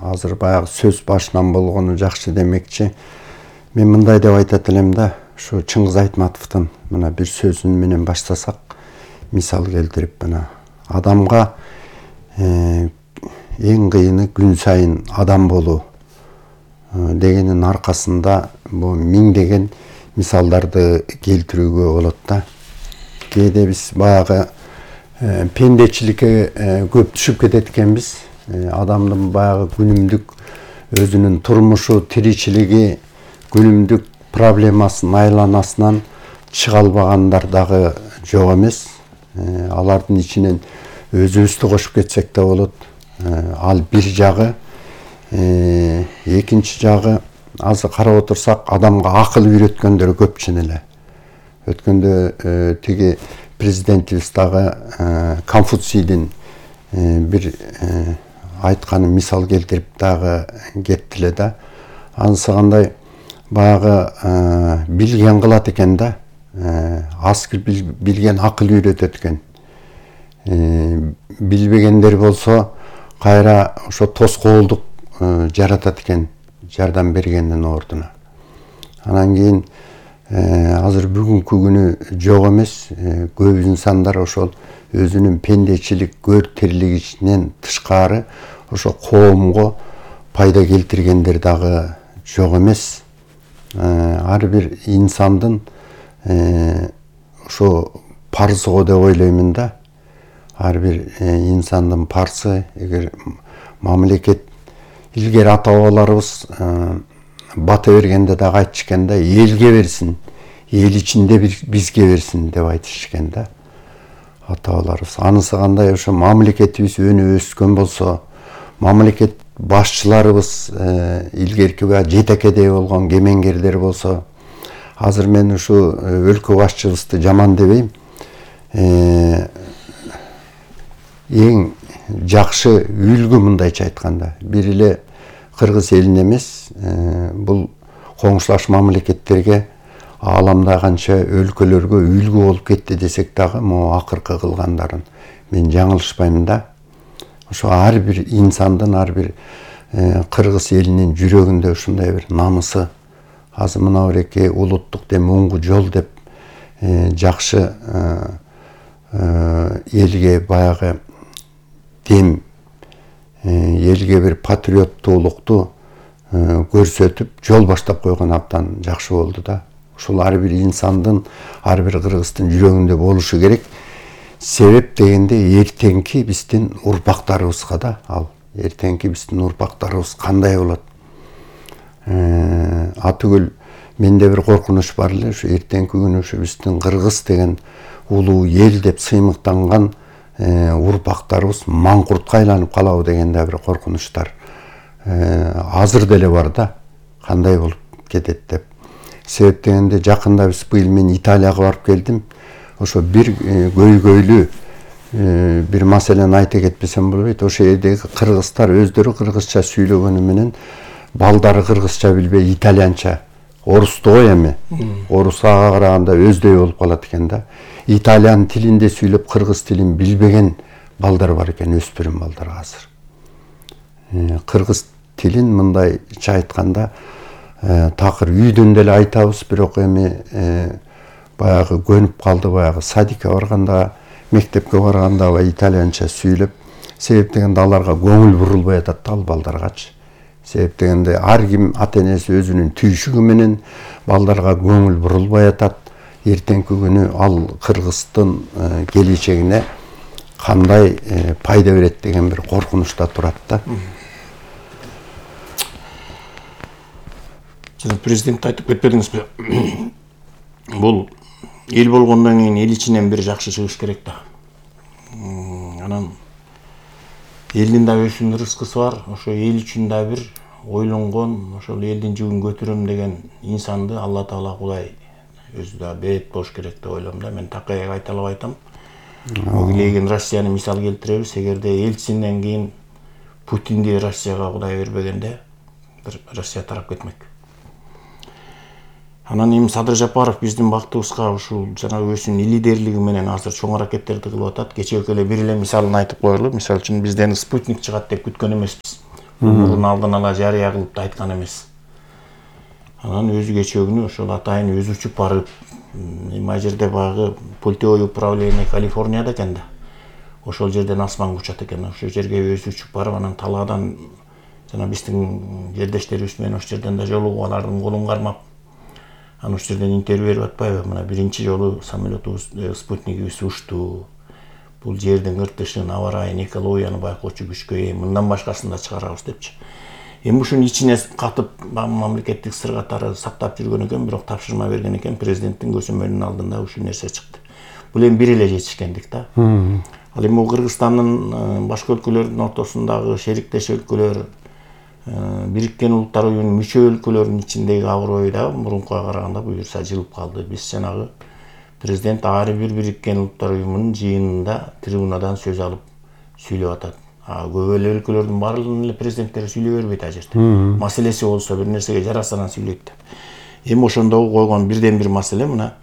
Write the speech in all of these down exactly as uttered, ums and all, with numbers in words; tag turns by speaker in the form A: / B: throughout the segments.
A: азыр баягы сөз башынан болгону жакшы демекчи. Мен мындай деп айтат элем да, ушу Чыңгыз Айтматовдун мына бир сөзүн менен баштасак, мисал келтирип, мына адамга эң кыйыны күн сайын адам болуу дегенин аркасында бул миңдеген мисалдарды келтирүүгө болот да. Кээде биз баягы пендечиликке көп түшүп кетет экенбиз. Адамдын баягы күнүмдүк өзүнүн турмушу, тиричилиги, күнүмдүк проблемасын айланасынан чыга албагандар дагы жок эмес. Алардын ичинен өзүбүздү кошуп кетсек да болот. Ал бир жагы. Экинчи жагы, азыр карап отурсак, адамга акыл үйрөткөндөр көпчүн эле. Өткөндө тиги президентибиз дагы Конфуцийдин бир айтканы мисал келтирип дагы кеттиле да. Анысы кандай, баягы билген кылат экен да. Аз билген акыл үйрөтөт экен. Билбегендер болсо кайра ошо тоскоолдук жаратат экен, жардам бергендин ордуна. Анан кийин азыр бүгүнкү күнү жок эмес, көп инсандар ошол өзүнүн пендечилик, көр тирлигинен тышкары ошо коомго пайда келтиргендер дагы жок эмес. Ар бир инсандын ошо парызы го деп ойлоймун да. Ар бир инсандын парызы, эгер мамлекет илгери ата-бабаларыбыз бата бергенде дагы айтышкан да, элге берсин, эл ичинде бизге берсин деп айтышкан да ата-бабаларыбыз. Анысы кандай, ошо мамлекетибиз өнүп өскөн болсо, мамлекет башчыларыбыз илгерки жетекедей болгон кемеңгерлер болсо, азыр мен ушу өлкө башчыбызды жаман дебейм. Эң жакшы үлгү, мындайча айтканда, бир эле Кыргыз элине эмес, бул коңшулаш мамлекеттерге, ааламда канча өлкөлөргө үлгү болуп кетти десек дагы, могу акыркы кылгандарын мен жаңылышпайм да. Ошо ар бир инсандын, ар бир Кыргыз элинин жүрөгүндө ушундай бир намысы, азыр мына биреки улуттук дем оңгу жол деп жакшы элге баягы дем, элге бир патриоттуулукту көрсөтүп жол баштап койгон абдан жакшы болду да. Ушул ар бир инсандын, ар бир кыргыздын жүрөгүндө болушу керек. Себеп дегенде эртеңки биздин урпактарыбызга да, ал эртеңки биздин урпактарыбыз кандай болот? Атүгүл менде бир коркунуч бар эле, ушу эртеңки күнү ушу биздин Кыргыз деген улуу эл деп сыймыктанган урпактарыбыз маңкуртка айланып калабы деген да бир коркунучтар азыр деле бар да, кандай болуп кетет деп. Себеп дегенде жакында биз быйыл мен Италияга барып келдим. Ошо бир көйгөйлүү бир маселени айта кетпесем болбойт. Ошо жердеги кыргыздар өздөрү кыргызча сүйлөгөнү менен балдары кыргызча билбей итальянча, орусту кой эми, орус ага караганда өздөй болуп калат экен да. Итальян тилинде сүйлөп кыргыз тилин билбеген балдар бар экен, өспүрүм балдар азыр. Кыргыз тилин мындайча айтканда такыр үйдөн деле айтабыз, бирок эми баягы көнүп калды, баягы садикке барганда, мектепке барганда итальянча сүйлөп, себеп дегенде аларга көңүл бурулбай атат да, ал балдаргачы. Себеп дегенде ар ким ата энеси өзүнүн түйшүгү менен балдарга көңүл бурулбай атат. Эртеңки күнү ал кыргыздын келечегине кандай пайда берет деген бир коркунучта турат да.
B: Жана президент айтып кетпедиңизби? Бул эл болгондон кийин эл ичинен бир жакшы чыгыш керек да. Анан элдин да өзүнүн рызкысы бар, ошо эл үчүн да бир ойлонгон, ошол элдин жүгүн көтөрөм деген инсанды Алла Таала Кудай өзү да берет болуш керек деп ойлойм да. Мен такаяк айта албай айтам. Огилеген Россияны мисал келтиребиз. Эгерде элчинден кийин Путинди Россияга Кудай бербегенде, бир Россия тарап кетмек. Анан эми Садыр Жапаров биздин бактыбызга ушул жана өзүнүн лидерлиги менен азыр чоң аракеттерди кылып атат. Кечээ эле бир эле мисалын айтып коелу. Мисалы үчүн бизден спутник чыгат деп күткөн эмеспиз. мурун алдын ала жарыя кылып да айткан эмес. Анан өзү кечээ күнү ошол атайын өзү учуп барып, эми ал жерде баягы пультевой управление Калифорнияда экен да. Ошол жерден асманга учат экен. Ошол жерге өзү учуп барып, анан талаадан жана биздин жердештерибиз менен ошол жерден да жолугуп, алардын колун кармап, анан ошол жерден интервью берип атпайбы? Мына биринчи жолу самолетубуз, спутнигибиз учту. Бул жердин ыртышын, аба ырайын, экологияны байкоочу күчкө ээ, мындан башкасын да чыгарабыз депчи. Эми ушунун ичине катып мамлекеттик сыр катары сактап жүргөн экен, бирок тапшырма берген экен, президенттин көзөмөлүнүн алдында ушул нерсе чыкты. Бул эми бир эле жетишкендик да. Ал эми Кыргызстандын башка өлкөлөрдүн ортосундагы шериктеш өлкөлөр, Бириккен Улуттар Уюмунун мүчө өлкөлөрүнүн ичиндеги аброю да мурункуга караганда буюрса жылып калды. Биз жанагы президент ар бир Бириккен Улуттар Уюмунун жыйынында трибунадан сөз алып сүйлөп атат. А көп эле өлкөлөрдүн баардыгынын эле президенттери сүйлөй бербейт ал жерде. Маселеси болсо бир нерсеге жараса анан сүйлөйт деп. Эми ошондогу койгон бирден бир маселе мына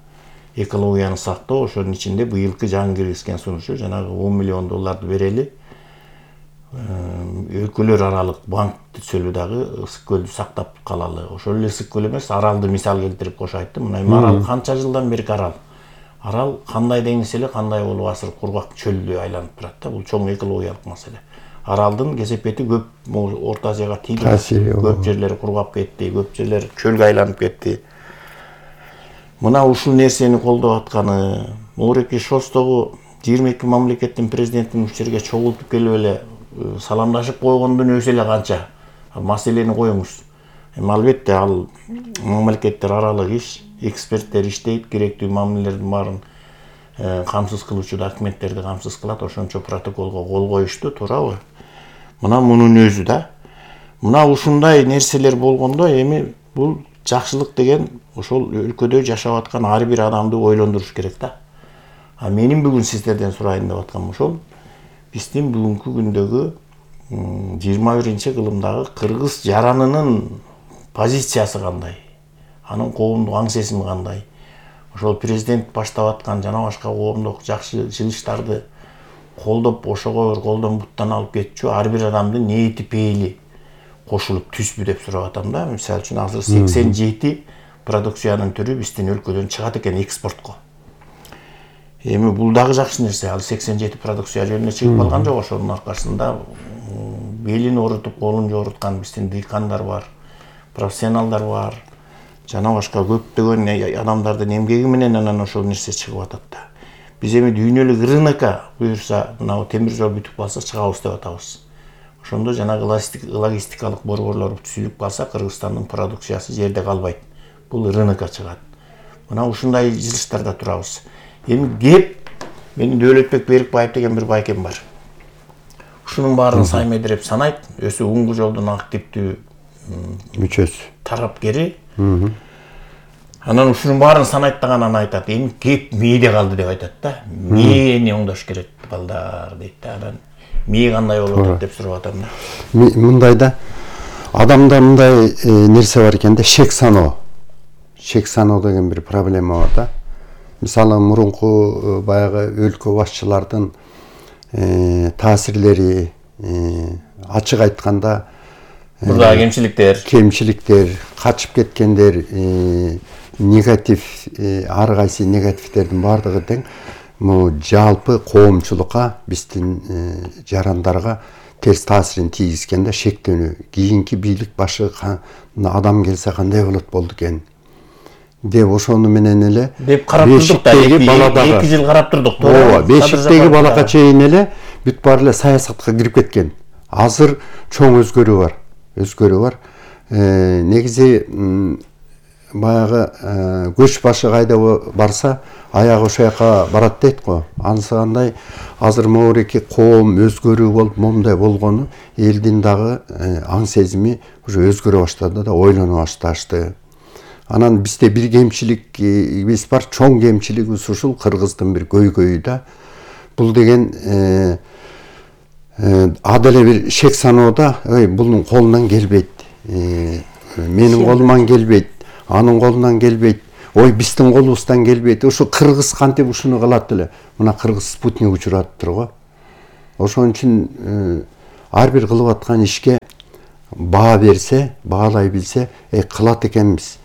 B: экологияны сактоо. Ошонун ичинде быйылкы жаңы киргизген сунушу жанагы он миллион долларды берели. Өлкөлөр аралык банк түзөлү дагы ысык көлдү сактап калалы. Ошол эле ысык көл эмес, аралды мисал келтирип кошо айтты. Мына эми арал канча жылдан берки арал. Арал кандай деңиз эле, кандай болуп азыр кургак чөлдү айланып турат да. Бул чоң экологиялык маселе. Аралдын кесепети көп Орто Азияга тийди. Көп жерлери кургап кетти, көп жерлер чөлгө айланып кетти. Мына ушул нерсени колдоп атканы, Муреки Шостогу жыйырма эки мамлекеттин президентин ушул жерге чогултуп келип эле саламдашып койгондун өзү эле канча. Маселени коюңуз. Эми албетте ал мамлекеттер аралык иш, эксперттер иштейт, керектүү мамилелердин баарын камсыз кылуучу документтерди камсыз кылат, ошончо протоколго кол коюшту, туурабы? Мына мунун өзү да. Мына ушундай нерселер болгондо эми бул жакшылык деген ошол өлкөдө жашап аткан ар бир адамды ойлондуруш керек да. А менин бүгүн сиздерден сурайын деп атканым ошол. Биздин бүгүнкү күндөгү жыйырма биринчи кылымдагы кыргыз жаранынын позициясы кандай? Анын коомдук аң сезими кандай? Ошол президент баштап аткан жана башка коомдук жакшы жылыштарды колдоп, ошого бир колдон буттан алып кетчү ар бир адамдын ниети пейили кошулуп түзбү деп сурап атам да. Мисалы үчүн азыр сексен жети продукциянын түрү биздин өлкөдөн чыгат экен экспортко. Эми бул дагы жакшы нерсе. Ал сексен жети продукция жөнүнө чыгып калган жок. Ошонун аркасында белин орутуп, колун жоруткан биздин дыйкандар бар, профессионалдар бар. Жана башка көптөгөн адамдардын эмгеги менен анан ошол нерсе чыгып атат да. Биз эми дүйнөлүк рынокко буюрса, мына темир жол бүтүп калса чыгабыз деп атабыз. Ошондо жанагы логистикалык борборлор түзүлүп калса, Кыргызстандын продукциясы жерде калбайт. Бул рынокко чыгат. Мына ушундай жылыштарда турабыз. Эми кеп менин Дөөлөтбек Берикбаев деген бир байкем бар. Ушунун баарын Саймедиреп санайт, өзү Уңгу жолдун активдүү
A: мүчөсү,
B: тарапкери. Анан ушунун баарын санайттаган анан айтат, эми кеп мээде калды деп айтат да. Мээни оңдош керек балдар дейт да. Анан мээ кандай болуп атат деп сурап атам да.
A: Мындай да адамда мындай нерсе бар экен да, шек саноо. Шек саноо деген бир проблема бар да. Мисалы мурунку баягы өлкө башчылардын таасирлери, ачык айтканда
B: мурдагы кемчиликтер,
A: кемчиликтер, качып кеткендер, негатив, ар кайсы негативтердин баардыгы тең могу жалпы коомчулукка, биздин жарандарга терс таасирин тийгизген да, шектенүү. Кийинки бийлик башы адам келсе кандай болот болду экен деп ошону менен эле
B: деп карап турдук да, эки жыл карап турдук.
A: Ооба, бешиктеги балака чейин эле бүт баары эле саясатка кирип кеткен. Азыр чоң өзгөрүү бар. Өзгөрүү бар. Негизи баягы көч башы кайда барса, аягы ошол жака барат дейт го. Анысы кандай азыр могуреки коом өзгөрүү болуп, момундай болгону элдин дагы аң сезими уже өзгөрө баштады да, ойлоно башташты. Анан бизде бир кемчилигибиз бар, чоң кемчилигибиз ушул кыргыздын бир көйгөйү да. Бул деген аделе бир шек саноодо, ой, бунун колунан келбейт. Менин колуман келбейт, анын колунан келбейт. Ой, биздин колубуздан келбейт. Ушу кыргыз кантип ушуну кылат эле. Мына кыргыз спутник учуратыптыр го. Ошон үчүн ар бир кылып аткан ишке баа берсе, баалай билсе, э кылат экенбиз,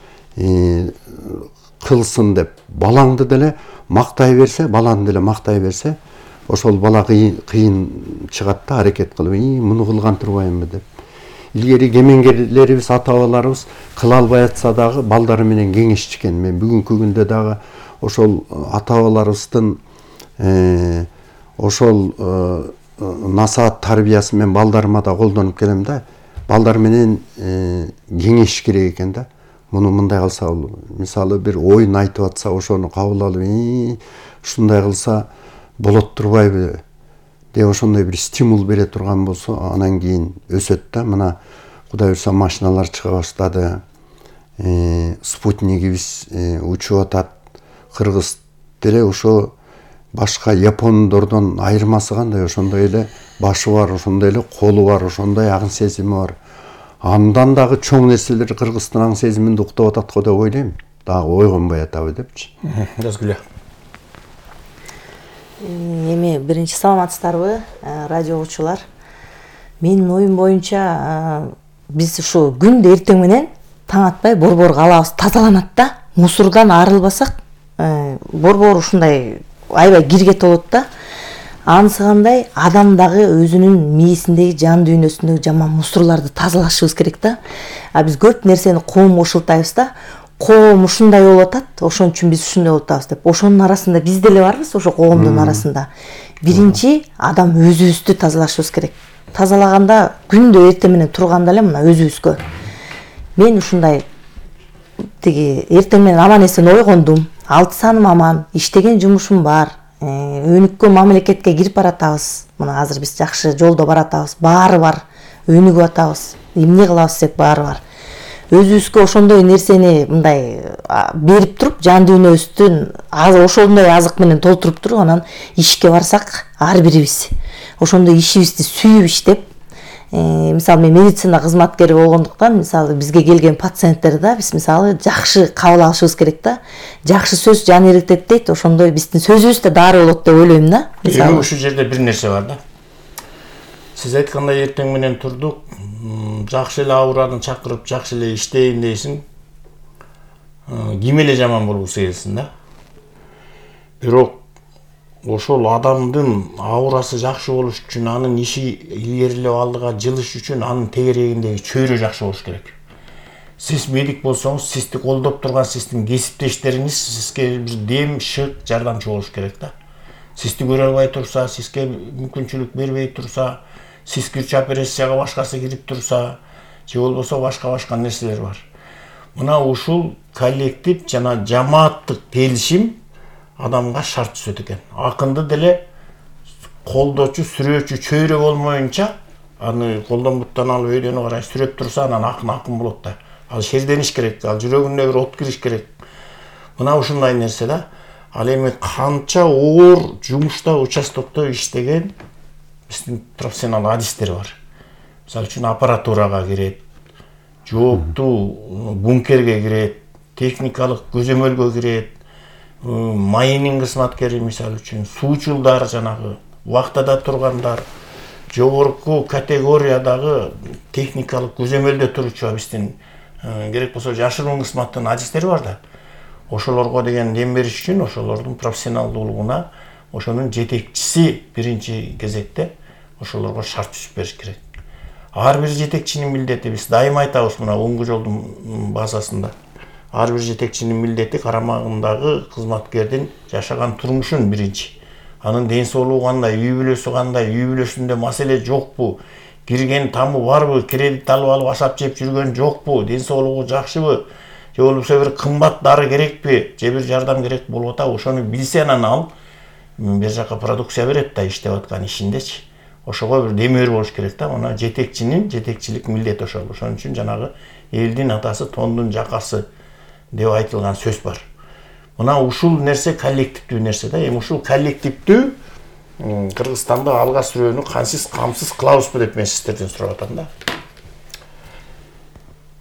A: кылсын деп балаңды деле мактай берсе, баланы деле мактай берсе, ошол бала кыйын чыгат да, аракет кылып, "И, муну кылган турбаймынбы" деп. Илгери кемеңгерлерибиз, ата-бабаларыбыз кыла албай атса дагы балдары менен кеңешчикен. Мен бүгүнкү күндө дагы ошол ата-бабаларыбыздын ошол насаат тарбиясы мен балдарыма да колдонуп келем да. Балдар менен кеңеш керек экен да. Муну мындай кылса болот. Мисалы бир оюн айтып атса, ошону кабыл алып, ушундай кылса болот турбайбы деп ошондой бир стимул бере турган болсо, анан кийин өсөт да. Мына Кудай буйрса машиналар чыга баштады. Спутнигибиз учуп атат. Кыргыз деле ошо башка япондордон айырмасы кандай? Ошондой эле башы бар, ошондой эле колу бар, ошондой аң сезими бар. Андан дагы чоң нерселер Кыргыздын аң сезиминде уктап атат го деп ойлойм. Дагы ойгонбой атабы депчи.
B: Жазгүлө.
C: Эми биринчи саламатсыздарбы, радио угуучулар. Менин оюм боюнча биз ушу күндө эртең менен таң атпай борбор калабыз тазаланат да. Мусордон арылбасак, борбор ушундай аябай кирге толот да. Анысы кандай, адам дагы өзүнүн мээсиндеги, жан дүйнөсүндөгү жаман мусорлорду тазалашыбыз керек да. А биз көп нерсени коомго ушултайбыз да. Коом ушундай болуп атат, ошон үчүн биз ушундай болуп атабыз деп. Ошонун арасында биз деле барбыз, ошо коомдун арасында. Биринчи адам өзүбүздү тазалашыбыз керек. Тазалаганда күндө эртең менен турганда эле мына өзүбүзгө. Мен ушундай тиги эртең менен аман эсен ойгондум. Алты саным аман, иштеген жумушум бар. Өнүккөн мамлекетке кирип баратабыз. Мына азыр биз жакшы жолдо баратабыз. Баары бар. Өнүгүп атабыз. Эмне кылабыз деп баары бар. Өзүбүзгө ошондой нерсени мындай берип туруп, жан дүйнөбүздүн ошондой азык менен толтуруп туруп, анан ишке барсак, ар бирибиз ошондой ишибизди сүйүп иштеп, мисалы мен медицина кызматкери болгондуктан, мисалы бизге келген пациенттерди биз мисалы жакшы кабыл алышыбыз керек да. Жакшы сөз жан эритет дейт, ошондой биздин сөзүбүз да дары болот деп ойлойм да.
B: Эми ушул жерде бир нерсе бар да. Сиз айткандай эртең менен турдук, жакшы эле аураны чакырып, жакшы эле иштейин дейсиң. Ким эле жаман болгусу келсин да. Бирок ошол адамдын аурасы жакшы болуш үчүн, анын иши илгерилеп алдыга жылыш үчүн анын тегерегиндеги чөйрө жакшы болуш керек. Сиз медик болсоңуз, сизди колдоп турган сиздин кесиптештериңиз сизге бир дем, шык, жардамчы болуш керек да. Сизди көрө албай турса, сизге мүмкүнчүлүк бербей турса, сиз кирчи операцияга башкасы кирип турса, же болбосо башка-башка нерселер бар. Мына ушул коллектив жана жамааттык келишим адамга шарт түзөт экен. Акынды деле колдоочу, сүрөөчү чөйрө болмоюнча, аны колдон буттан алып өйдөнү карай сүрөп турса, анан акын акын болот да. Ал шердениш керек, ал жүрөгүнө бир от кириш керек. Мына ушундай нерсе да. Ал эми канча оор жумушта, участокто иштеген биздин профессионал адистер бар. Мисалы үчүн аппаратурага кирет, жооптуу бункерге кирет, техникалык көзөмөлгө кирет, майнинг кызматкери мисалы үчүн, суучулдар жанагы вахтада тургандар, жогорку категориядагы техникалык көзөмөлдө туручу биздин керек болсо жашыруун кызматтын адистери бар да. Ошолорго деген дем бериш үчүн ошолордун профессионалдуулугуна ошонун жетекчиси биринчи кезекте ошолорго шарт түзүп бериш керек. Ар бир жетекчинин милдети, биз дайыма айтабыз мына оңгу жолдун базасында. Ар бир жетекчинин милдети карамагындагы кызматкердин жашаган турмушун биринчи. Анын ден соолугу кандай, үй бүлөсү кандай, үй бүлөсүндө маселе жокпу, кирген тамы барбы, кредит алып алып ашап жеп жүргөн жокпу, ден соолугу жакшыбы, же болбосо бир кымбат дары керекпи, же бир жардам керек болуп атабы, ошону билсе анан ал бир жака продукция берет да иштеп аткан ишиндечи. Ошого бир демөөр болуш керек да. Мына жетекчинин жетекчилик милдети ошол. Ошон үчүн жанагы элдин атасы тондун жакасы деп айтылган сөз бар. Мына ушул нерсе коллективдүү нерсе да. Эми ушул коллективдүү Кыргызстанда алга сүрөөнү кансыз камсыз кылабызбы деп мен сиздерден сурап атам да.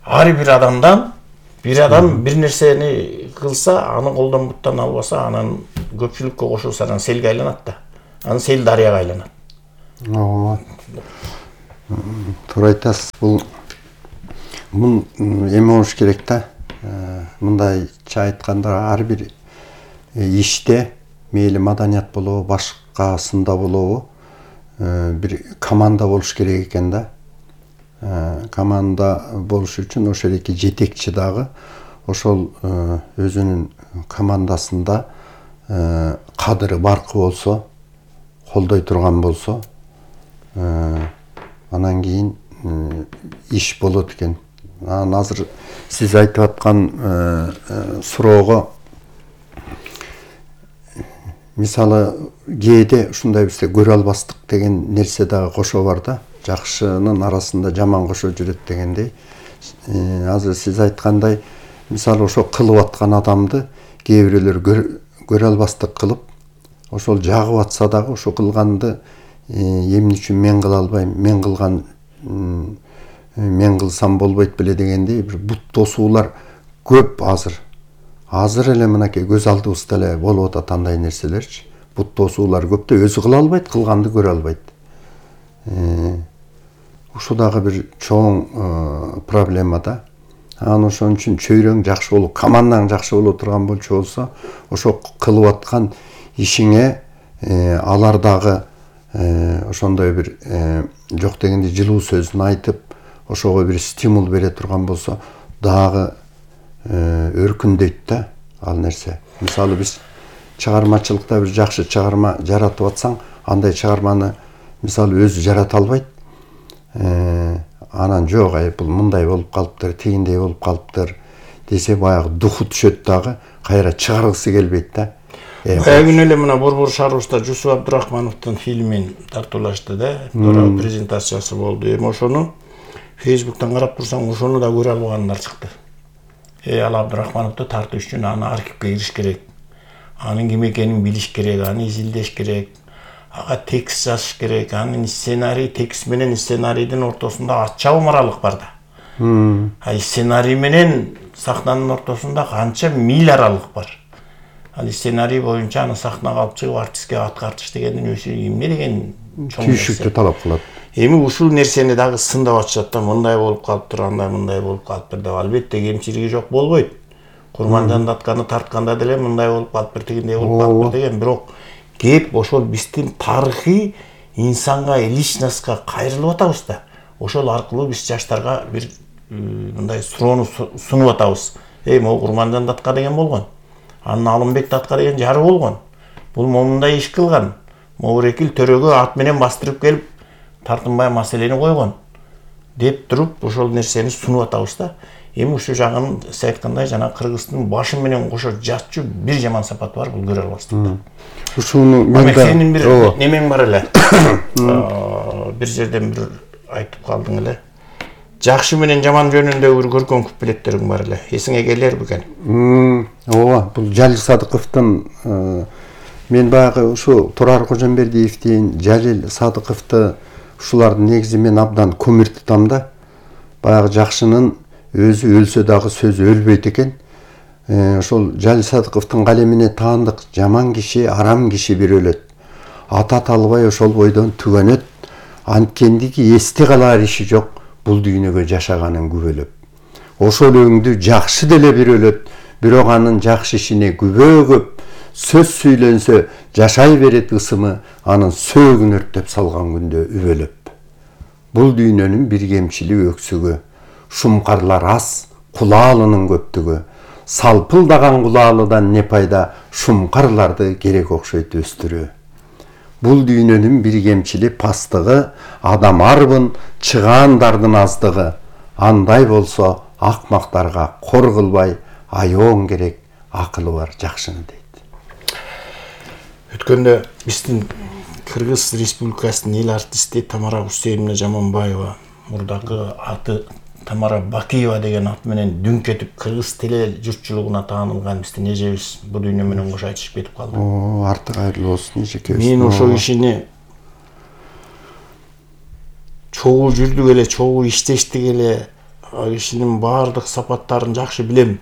B: Ар бир адамдан бир адам бир нерсени кылса, аны колдон буттан албаса, анан көпчүлүккө кошулса, анан селге айланат да. Анан сел дарыяга айланат.
A: Ооба. Туура айтасыз. Бул Мун эме болуш керек да. Мындайча айтканда ар бир иште мейли маданият болобу, башкасында болобу, бир команда болуш керек экен да. Команда болуш үчүн ошол эки жетекчи дагы ошол өзүнүн командасында кадыры баркы болсо, колдой турган болсо, анан кийин иш болот экен. Анан азыр сиз айтып аткан суроого мисалы кээде ушундай бизде көрө албастык деген нерсе дагы кошо бар да. Жакшынын арасында жаман кошо жүрөт дегендей. Азыр сиз айткандай, мисалы ошо кылып аткан адамды кээ бирөөлөр көрө албастык кылып, ошол жагып атса дагы ошо кылганды эмне үчүн мен кыла албайм, мен кылган мен кылсам болбойт беле дегендей бир бут тосуулар көп азыр. Азыр эле мынакей көз алдыбызда эле болуп атат андай нерселерчи. Бут тосуулар көп да, өзү кыла албайт, кылганды көрө албайт. Ушу дагы бир чоң проблема да. Анан ошон үчүн чөйрөң жакшы болуп, командаң жакшы боло турган болчу болсо, ошо кылып аткан ишиңе алар дагы ошондой бир жок дегенде жылуу сөзүн айтып, ошого бир стимул бере турган болсо, дагы өркүндөйт да ал нерсе. Мисалы биз чыгармачылыкта бир жакшы чыгарма жаратып атсаң, андай чыгарманы мисалы өзү жарата албайт. Анан жок, ай бул мындай болуп калыптыр, тигиндей болуп калыптыр десе, баягы духу түшөт дагы, кайра чыгаргысы келбейт да.
B: Баягы күнү эле мына Борбор шаарыбызда Жусуп Абдурахмановдун фильмин тартуулашты да, тууралуу презентациясы болду. Эми ошону Фейсбуктан карап турсаң, ошону да көрө албагандар чыкты. Э, ал Абдурахмановду тартуу үчүн аны архивге кириш керек. Анын ким экенин билиш керек, аны изилдеш керек. Ага текст жазыш керек, анын сценарий, текст менен сценарийдин ортосунда аччабым аралык бар да. А сценарий менен сахнанын ортосунда канча миль аралык бар. Ал сценарий боюнча аны сахнага алып чыгып артистке аткартыш дегендин өзү эмне деген чоң
A: түйшүктү талап кылат.
B: Эми ушул нерсени дагы сындап атышат да, мындай болуп калыптыр, андай мындай болуп калыптыр деп. Албетте кемчилиги жок болбойт. Курманжан Датканы тартканда деле мындай болуп калыптыр, тигиндей болуп калыптыр деген, бирок кеп ошол биздин тарыхый инсанга, личностька кайрылып атабыз да. Ошол аркылуу биз жаштарга бир мындай суроону сунуп атабыз. Эй, могу Курманжан Датка деген болгон. Анын Алымбек Датка деген жары болгон. Бул момундай иш кылган. Моурекил төрөгө ат менен бастырып келип тартынбай маселени койгон деп туруп ошол нерсени сунуп атабыз да. Эми ушул жагын сиз айткандай жана кыргыздын башы менен кошо жатчу бир жаман сапаты бар, бул көрө албастык да.
A: Ушуну мен
B: да сенин бир немең бар эле. Бир жерден бир айтып калдың эле. Жакшы менен жаман жөнүндө бир көркөм куплеттериң бар эле. Эсиңе келер бекен?
A: Ооба, бул Жалил Садыковдун мен баягы ушу Турар Кожомбердиевдин, Жалил Садыковду ушулардын негизи мен абдан көмүр тутам да. Баягы жакшынын өзү өлсө дагы сөзү өлбөйт экен. Ошол Жалил Садыковдун калемине таандык жаман киши, арам киши бир өлөт. Ата талбай ошол бойдон түгөнөт. Анткендиги эсте калар иши жок, бул дүйнөгө жашаганын күбөлөп. Ошол өңдү жакшы деле бир өлөт, бирок анын жакшы ишине күбө көп. Сөз сүйлөнсө жашай берет ысымы, анын сөөгүн өрттөп салган күндө үбөлөп. Бул дүйнөнүн бир кемчилиги өксүгү, шумкарлар аз, кулаалынын көптүгү. Салпылдаган кулаалыдан не пайда, шумкарларды керек окшойт өстүрүү. Бул дүйнөнүн бир кемчили пастыгы, адам арбын, чыгаандардын аздыгы. Андай болсо акмактарга кор кылбай, аёң керек, акылы бар жакшыны дейт.
B: Өткөндө биздин Кыргыз Республикасынын эл артисти Тамара Усейновна Жаманбаева, мурдакы аты Тамара Бакиева деген ат менен дүңкетип кыргыз теле журтчулугуна таанылган биздин эжебиз бул дүйнө менен кошо айтышып кетип калды.
A: О, артык айрылуу болсун эжекебиз.
B: Мен ошол кишини чогуу жүрдүк эле, чогуу иштештик эле, кишинин баардык сапаттарын жакшы билем.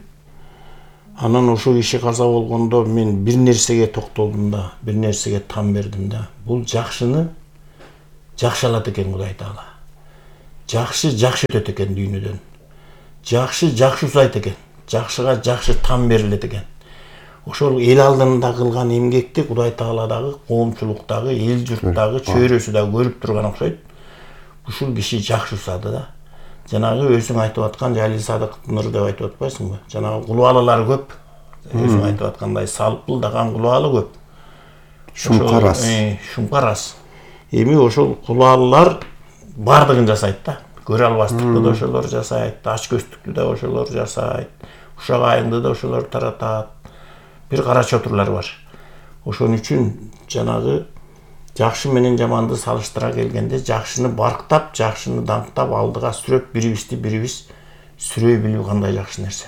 B: Анан ошол киши каза болгондо мен бир нерсеге токтолдум да, бир нерсеге там бердим да. Бул жакшыны жакшы алат экен Кудай Таала. Жакшы жакшы өтөт экен дүйнөдөн. жакшы жакшы узайт экен, жакшыга жакшы там берилет экен. Ошол эл алдында кылган эмгекти Кудай Таала дагы, коомчулуктагы, эл журттагы чөйрөсү дагы көрүп турган окшойт. Ушул киши жакшы усады да. Жанагы өзүң айтып аткан Жалил Садык Нур деп айтып атпайсыңбы? Жанагы кулубалар көп. Өзүң айтып аткандай салпылдаган кулубалы көп.
A: Шумкарас.
B: Шумкарас. Эми ошол кулубалар бардыгын жасайт да. Көрө албастыкты да ошолор жасайт, ач көздүктү да ошолор жасайт, ушак айыңды да ошолор таратат. Бир кара чотурлар бар. Ошон үчүн жанагы жакшы менен жаманды салыштыра келгенде жакшыны барктап, жакшыны даңктап алдыга сүрөп, бирибизди бирибиз сүрөй билүү кандай жакшы нерсе.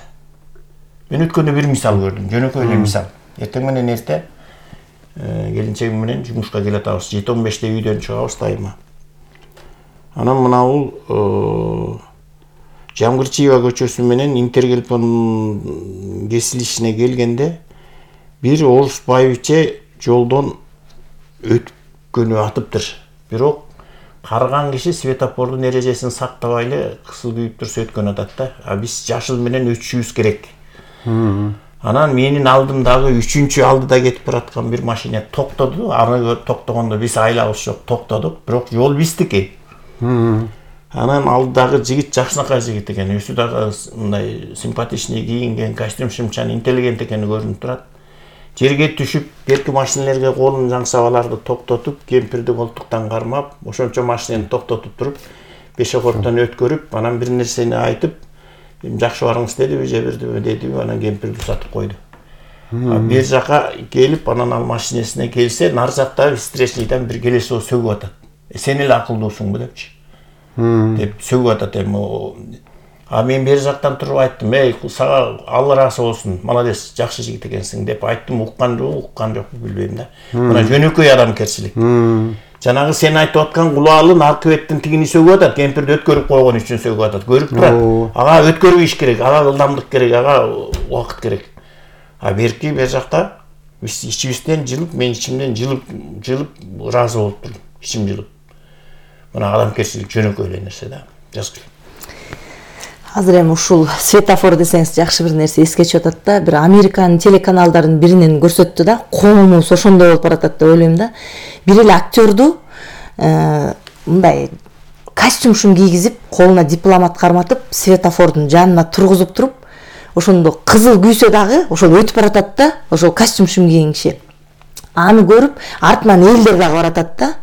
B: Мен өткөндө бир мисал көрдүм, жөнөкөй эле мисал. Эртең менен эрте келинчегим менен жумушка келатабыз, жети он беште үйдөн чыгабыз дайыма. Анан мына бул Жамгырчиева көчөсү менен Интергелпон кесилишине келгенде бир орус байбиче жолдон өткөнү атыптыр. Бирок карыган киши светофордун эрежесин сактабай эле кысыл күйүп турса өткөн атат да. А биз жашыл менен өтүшүбүз керек. Анан менин алдымдагы үчүнчү алдыда кетип бараткан бир машина токтоду. Аны токтогондо биз айлабыз жок, токтодук. Бирок жол биздики. Анан алдыдагы жигит жакшынакай жигит экен. Өзү дагы мындай симпатичный кийинген, костюм-шымчан, интеллигент экени көрүнүп турат. Жерге түшүп, берки машинелерге колун жаңсап аларды токтотуп, кемпирди колтуктан кармап, ошончо машинени токтотуп туруп, пешеходдон өткөрүп, анан бир нерсени айтып, жакшы барыңыз дедиби, же бирдиби дедиби, анан кемпирди узатып койду. Бер жака келип, анан ал машинесине келсе, нар жакта встречныйдан бир келесо сөгүп атат. Сен эле акылдуусуңбу депчи. Деп сөгүп атат эми. А мен бер жактан туруп айттым, эй, сага Алла ыраазы болсун, молодец, жакшы жигит экенсиң деп айттым, уккан жок, уккан жок билбейм да. Мына жөнөкөй адамкерчилик. Жанагы сен айтып аткан кулубалы аркы беттен тигини сөгүп атат, кемпирди өткөрүп койгон үчүн сөгүп атат. Көрүп турат. Ага өткөрүш керек, ага ылдамдык керек, ага убакыт керек. А берки бер жакта биз ичибизден жылып, мен ичимден жылып, жылып ыраазы болуп турдум. Ичим жылып. Мына адамкерчилик жөнөкөй эле нерсе да. Жазгыл.
C: Азыр эми ушул светофор десеңиз жакшы бир нерсе эске чыгып атат да. Бир Американын телеканалдарынын биринен көрсөттү да. Коомубуз ошондой болуп баратат деп ойлойм да. Бир эле актёрду мындай костюм-шум кийгизип, колуна дипломат карматып, светофордун жанына тургузуп туруп, ошондо кызыл күйсө дагы ошол өтүп баратат да, ошол костюм-шум кийген киши. Аны көрүп, артынан элдер дагы баратат да.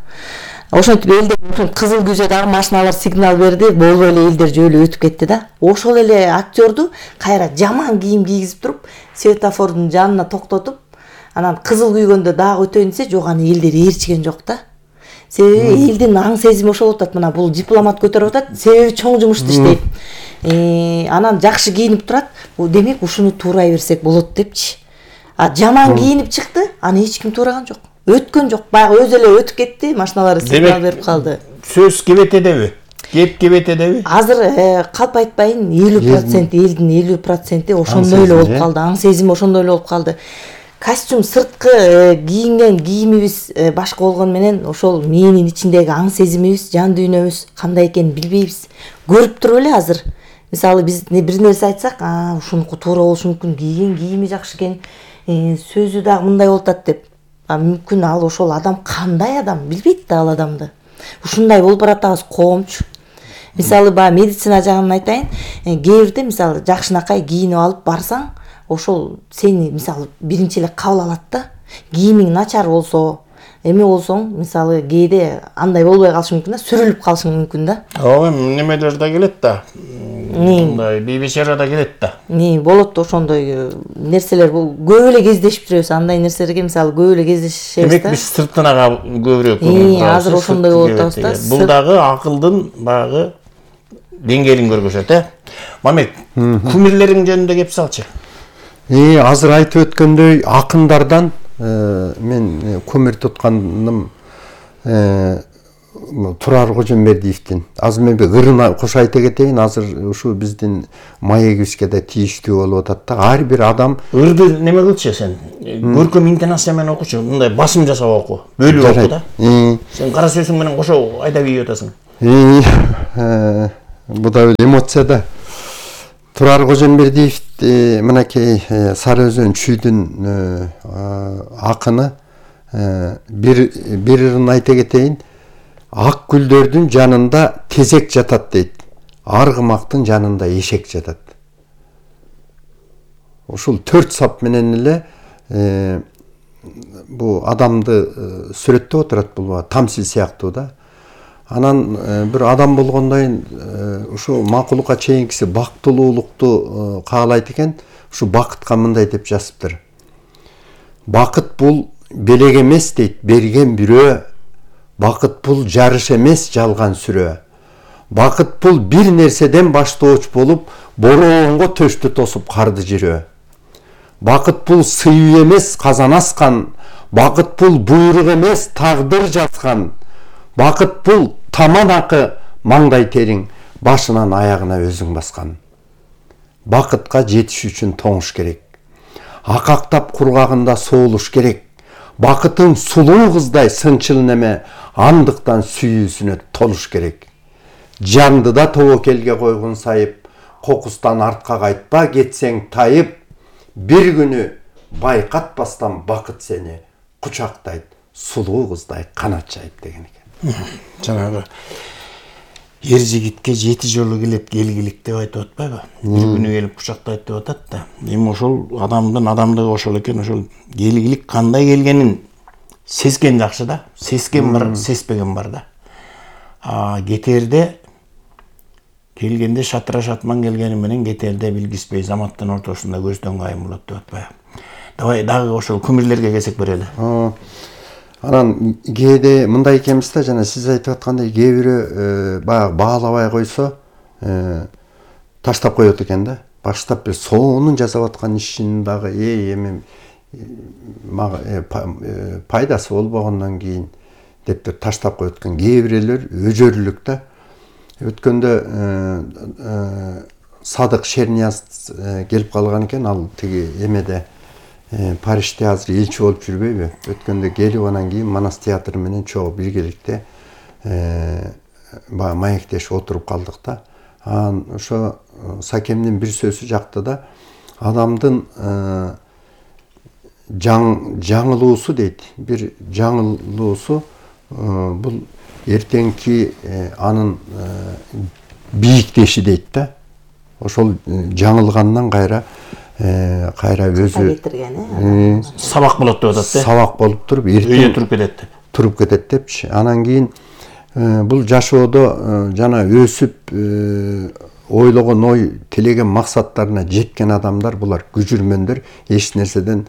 C: Ошентип элдер ошон кызыл күйсө дагы машиналар сигнал берди, болбой эле элдер жөөлө өтүп кетти да. Ошол эле актёрду кайра жаман кийим кийгизип туруп, светофордун жанына токтотуп, анан кызыл күйгөндө дагы өтөйүн десе, жок аны элдер ээрчиген жок да. Себеби элдин аң сезими ошол атат, мына бул дипломат көтөрүп атат, себеби чоң жумушту иштейт. Э, анан жакшы кийинип турат, демек ушуну туурай берсек болот депчи. А жаман кийинип чыкты, аны эч ким туураган жок. Өткөн жок, баягы өзү эле өтүп кетти, машиналар сигнал берип калды.
B: Сөз кебетедеби? Кеп кебетедеби?
C: Азыр калп айтпайын, элүү процент элдин элүү проценти ошондой эле болуп калды, аң сезими ошондой эле болуп калды. Костюм сырткы кийинген кийимибиз башка болгону менен ошол мээнин ичиндеги аң сезимибиз, жан дүйнөбүз кандай экенин билбейбиз. Көрүп туруп эле азыр. Мисалы биз бир нерсе айтсак, а ушунуку туура болушу мүмкүн, кийген кийими жакшы экен, сөзү дагы мындай болуп атат деп. А мүмкүн ал ошол адам кандай адам, билбейт да ал адамды. Ушундай болуп баратабыз коомчу. Мисалы баягы медицина жагын айтайын, кээ бирде мисалы жакшынакай кийинип алып барсаң, ошол сени мисалы биринчи эле кабыл алат да. Кийимиң начар болсо, эме болсоң, мисалы кээде андай болбой калышы мүмкүн да, сүрүлүп калышың мүмкүн да.
B: Ооба, немелер да келет да. Мындай бейбешара да келет да.
C: Не болот ошондой нерселер, көп эле кездешип жүрөбүз, андай нерселерге мисалы көп эле кездешебиз да.
B: Демек биз сыртынага көбүрөөк
C: көңүл бурабыз. Азыр ошондой болуп атабыз да.
B: Бул дагы акылдын баягы деңгээлин көргөзөт, э. Мамек, кумирлериң жөнүндө кеп салчы.
A: Э, азыр айтып өткөндөй акындардан мен көмүр тутканым Турар Кожомбердиевдин. Азыр мен ырына кошо айта кетейин, азыр ушу биздин маегибизге да тийиштүү болуп атат да. Ар бир адам
B: ырды неме кылчы сен? Көркөм интонация менен окучу, мындай басым жасап оку, бөлүп оку да. Сен кара сөзүң менен кошо айдап ийип атасың.
A: Бу да эмоция да. Турар Кожомбердиев мынакей Сары Өзөн чүйдүн акыны бир бир ырын айта кетейин. Ак гүлдөрдүн жанында тезек жатат дейт. Аргымактын жанында эшек жатат. Ушул төрт сап менен эле бу адамды сүрөттөп отурат, бул тамсил сыяктуу да. Анан бир адам болгондон ушу макулукка чейинкиси бактылуулукту каалайт экен. Ушу бакытка мындай деп жазыптыр. Бакыт бул белек эмес дейт, берген бирөө. Бакыт бул жарыш эмес, жалган сүрөө. Бакыт бул бир нерседен баштооч болуп, бороонго төштү тосуп карды жирөө. Бакыт бул сыйуу эмес, казан аскан. Бакыт бул буйрук эмес, тагдыр жазган. Бакыт бул таман акы, маңдай териң, башынан аягына өзүң баскан. Бакытка жетиш үчүн тоңуш керек. Акактап кургагында соолуш керек. Бакытың сулуу кыздай сынчыл неме, андыктан сүйүүсүнө толуш керек. Жандыда тобокелге койгун сайып, кокустан артка кайтпа, кетсең тайып. Бир күнү байкатпастан бакыт сени кучактайт, сулуу кыздай канат жайып деген экен.
B: Жанагы эр жигитке жети жолу келет келгилик деп айтып атпайбы? Бир күнү келип кучактайт деп атат да. Эми ошол адамдын адамдыгы ошол экен. Ошол келгилик кандай келгенин сезген жакшы да. Сезген бар, сезбеген бар да. А кетерде келгенде шатыра шатман келгени менен кетерде билгиспей заматтын ортосунда көздөн кайым болот деп атпайбы? Давай дагы ошол күмүрлөргө келсек берели.
A: Анан кээде мындай экенбиз да, жана сиз айтып аткандай, кээ бирөө баягы баалабай койсо таштап коет экен да. Баштап бир сонун жасап аткан ишин дагы эми мага пайдасы болбогондон кийин деп таштап коет экен. Кээ бирөөлөр өжөрлүк да. Өткөндө Садык Шернияз келип калган экен, ал тиги эмеде Парижде азыр элчи болуп жүрбөйбү? Өткөндө келип анан кийин Манас театры менен чогуу биргеликте баягы маектешип отуруп калдык да. Анан ошо Сакемдин бир сөзү жакты да. Адамдын жаңылуусу дейт. Бир жаңылуусу бул эртеңки анын бийиктеши дейт да. Ошол жаңылгандан кайра кайра өзү
B: сабак болот деп атат да.
A: Сабак болуп туруп,
B: эртең туруп кетет деп.
A: Туруп кетет депчи. Анан кийин бул жашоодо жана өсүп ойлогон ой, тилеген максаттарына жеткен адамдар, булар күжүрмөндөр, эч нерседен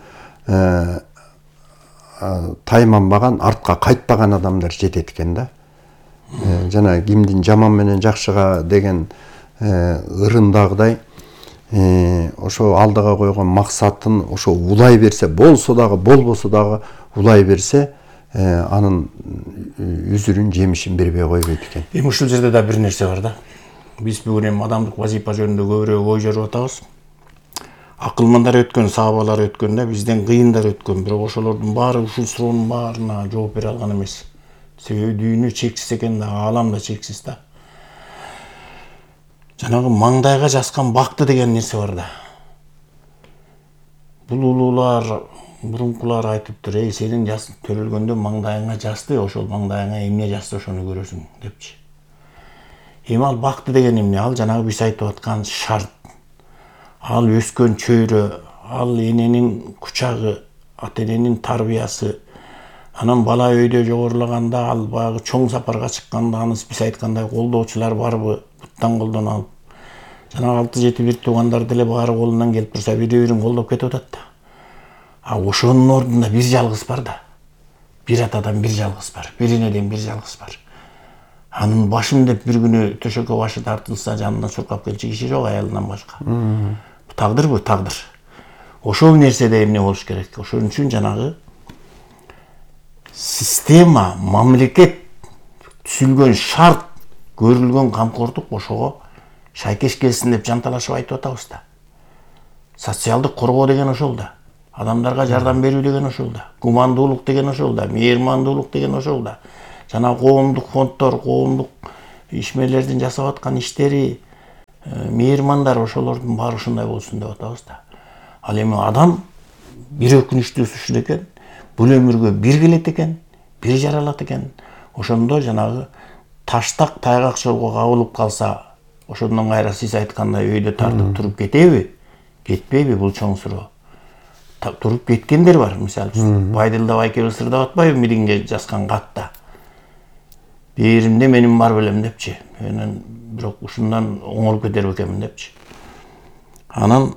A: тайманбаган, артка кайтпаган адамдар жетет экен да. Жана кимдин жаман менен жакшыга деген ырындагыдай ошо алдыга койгон максатын ошо улай берсе, болсо дагы болбосо дагы улай берсе, анын үзүрүн жемишин бербей койбойт экен.
B: Эми ушул жерде да бир нерсе бар да. Биз бүгүн эми адамдык вазифа жөнүндө көбүрөөк ой жоруп атабыз. Акылмандар өткөн, саабалар өткөн да, бизден кыйындар өткөн. Бирок ошолордун баары ушул суроонун баарына жооп бере алган эмес. Себеби дүйнө чексиз экен да, аалам да чексиз да. Жанагы маңдайга жазган бакты деген нерсе бар да. Бул улуулар, мурункулар айтыптыр, эй, сенин жас төрөлгөндө маңдайыңа жазды, ошол маңдайыңа эмне жазды, ошону көрөсүң депчи. Эми ал бакты деген эмне? Ал жанагы биз айтып аткан шарт. Ал өскөн чөйрө, ал эненин кучагы, ата эненин тарбиясы. Анан бала өйдө жогорулаганда, ал баягы чоң сапарга чыкканда, аны биз айткандай колдоочулар барбы, буттан колдон алып. Жана алты жети бир туугандар деле баары колунан келип турса, бири-бирин колдоп кетип атат да. А ошонун ордунда бир жалгыз бар да. Бир атадан бир жалгыз бар, бир энеден бир жалгыз бар. Анын башым деп бир күнү төшөккө башы тартылса, жанына чуркап келчү киши жок, аялынан башка. Тагдыр бу, тагдыр. Ошол нерседе эмне болуш керек? Ошон үчүн жанагы система, мамлекет түзүлгөн шарт, көрүлгөн камкордук ошого шайкеш келсин деп жанталашып айтып атабыз да. Социалдык коргоо деген ошол да. Адамдарга жардам берүү деген ошол да. Гумандуулук деген ошол да. Мейирмандуулук деген ошол да. Жана коомдук фонддор, коомдук ишмерлердин жасап аткан иштери, мейирмандар ошолордун баары ушундай болсун деп атабыз да. Ал эми адам бир өкүнүчтүүсү ушул экен, бул өмүргө бир келет экен, бир жаралат экен. Ошондо жанагы таштак тайгак жолго кабылып калса, ошондон кайра сиз айткандай өйдө тартып туруп кетеби, кетпейби, бул чоң суроо. Туруп кеткендер бар, мисалы үчүн Байдылдабай эки ысырдап атпайбы мириңге жазган катта. Бээримде менин бар белем депчи. Менен бирок ушундан оңолуп кетер экенмин депчи. Анан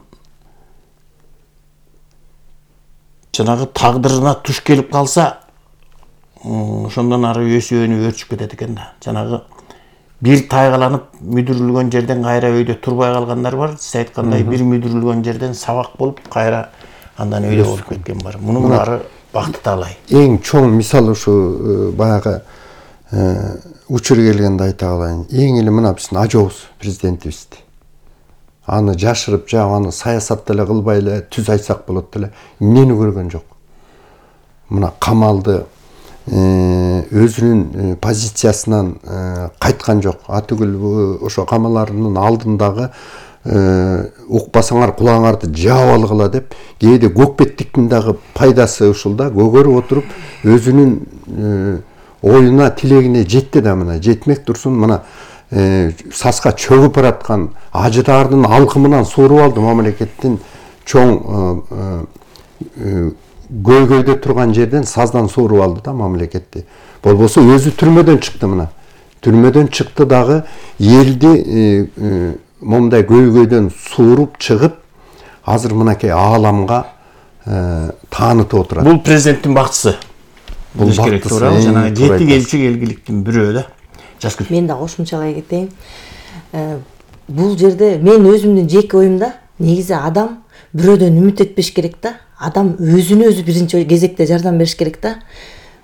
B: жанагы тагдырына туш келип калса, ошондон ары өсүп өрчүп кетет экен да. Жанагы бир тайгаланып мүдүрүлгөн жерден кайра өйдө турбай калгандар бар. Сиз айткандай бир мүдүрүлгөн жерден сабак болуп кайра андан өйдө болуп кеткен бар. Мунун баары бакты таалай.
A: Эң чоң мисал ушу баягы учур келгенде айта калайын. Эң эле мына биздин ажообуз президентибизди. Аны жашырып жа аны саясат деле кылбай эле түз айтсак болот деле эмнени көргөн жок. Мына камалды өзүнүн позициясынан кайткан жок. Атүгүл ошо камаларынын алдындагы укпасаңар кулагыңарды жаап алгыла деп кээде көкпеттиктин дагы пайдасы ушул да, көгөрүп отуруп өзүнүн оюна тилегине жетти да, мына жетмек турсун мына саска чөгүп бараткан ажыдаардын алкымынан сууруп алды мамлекеттин чоң көйгөйдө турган жерден саздан сууруп алды да мамлекетти. Болбосо өзү түрмөдөн чыкты, мына түрмөдөн чыкты дагы элди момундай көйгөйдөн сууруп чыгып азыр мынакей ааламга таанытып отурат.
B: Бул президенттин бактысы. Бул бактысы жана жети элчи келгиликтин бирөө да. Жазгүл.
C: Мен да кошумчалай кетейин. Бул жерде мен өзүмдүн жеке оюмда негизи адам бирөөдөн үмүт этпеш керек да. Адам өзүнө өзү биринчи кезекте жардам бериш керек да.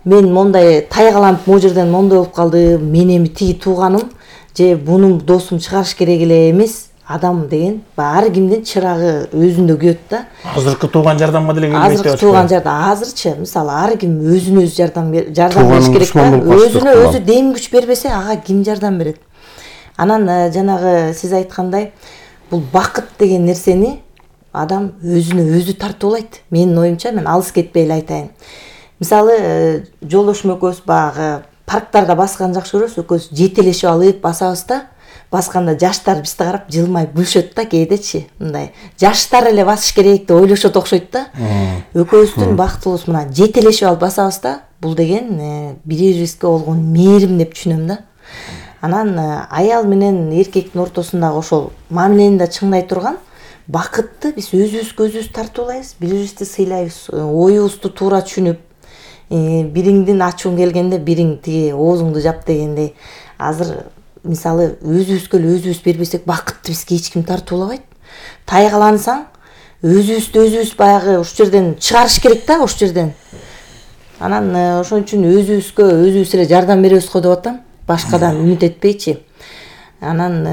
C: Мен мондай тайгаланып могу жерден мондой болуп калды, мен эми тиги тууганым же бунун досум чыгарыш керек эле эмес. Адам деген ар кимдин чырагы өзүндө күйөт да.
B: Азыркы тууган жардамга деле келбейт.
C: Азыркы тууган жардам азырчы мисалы ар ким өзүнө өзү жардам жардам бериш керек да. Өзүнө өзү дем күч бербесе ага ким жардам берет? Анан жанагы сиз айткандай бул бакыт деген нерсени адам өзүнө өзү тартуулайт. Менин оюмча, мен алыс кетпей эле айтайын. Мисалы жолдошум экөөбүз багы парктарда баскан жакшы көрөбүз, экөөбүз жетелешип алып басабыз да. Басканда жаштар бизди карап жылмайып күлүшөт да кээдечи. Мындай жаштар эле басыш керек деп ойлошот окшойт да. Экөөбүздүн бактыбыз мына жетелешип алып басабыз да. Бул деген бири бирибизге болгон мээрим деп түшүнөм да. Анан аял менен эркектин ортосундагы ошол мамилени да чыңдай турган бакытты биз өзүбүзгө өзүбүз тартуулайбыз, бири бирибизди сыйлайбыз, оюбузду туура түшүнүп, бириңдин ачууң келгенде бириң тиги оозуңду жап дегендей. Азыр мисалы өзүбүзгө эле өзүбүз бербесек бакытты бизге эч ким тартуулабайт. Тайгалансаң өзүбүздү өзүбүз баягы ушул жерден чыгарыш керек да, ушул жерден. Анан ошон үчүн өзүбүзгө өзүбүз эле жардам беребиз го деп атам. Башкадан үмүт этпейчи. Анан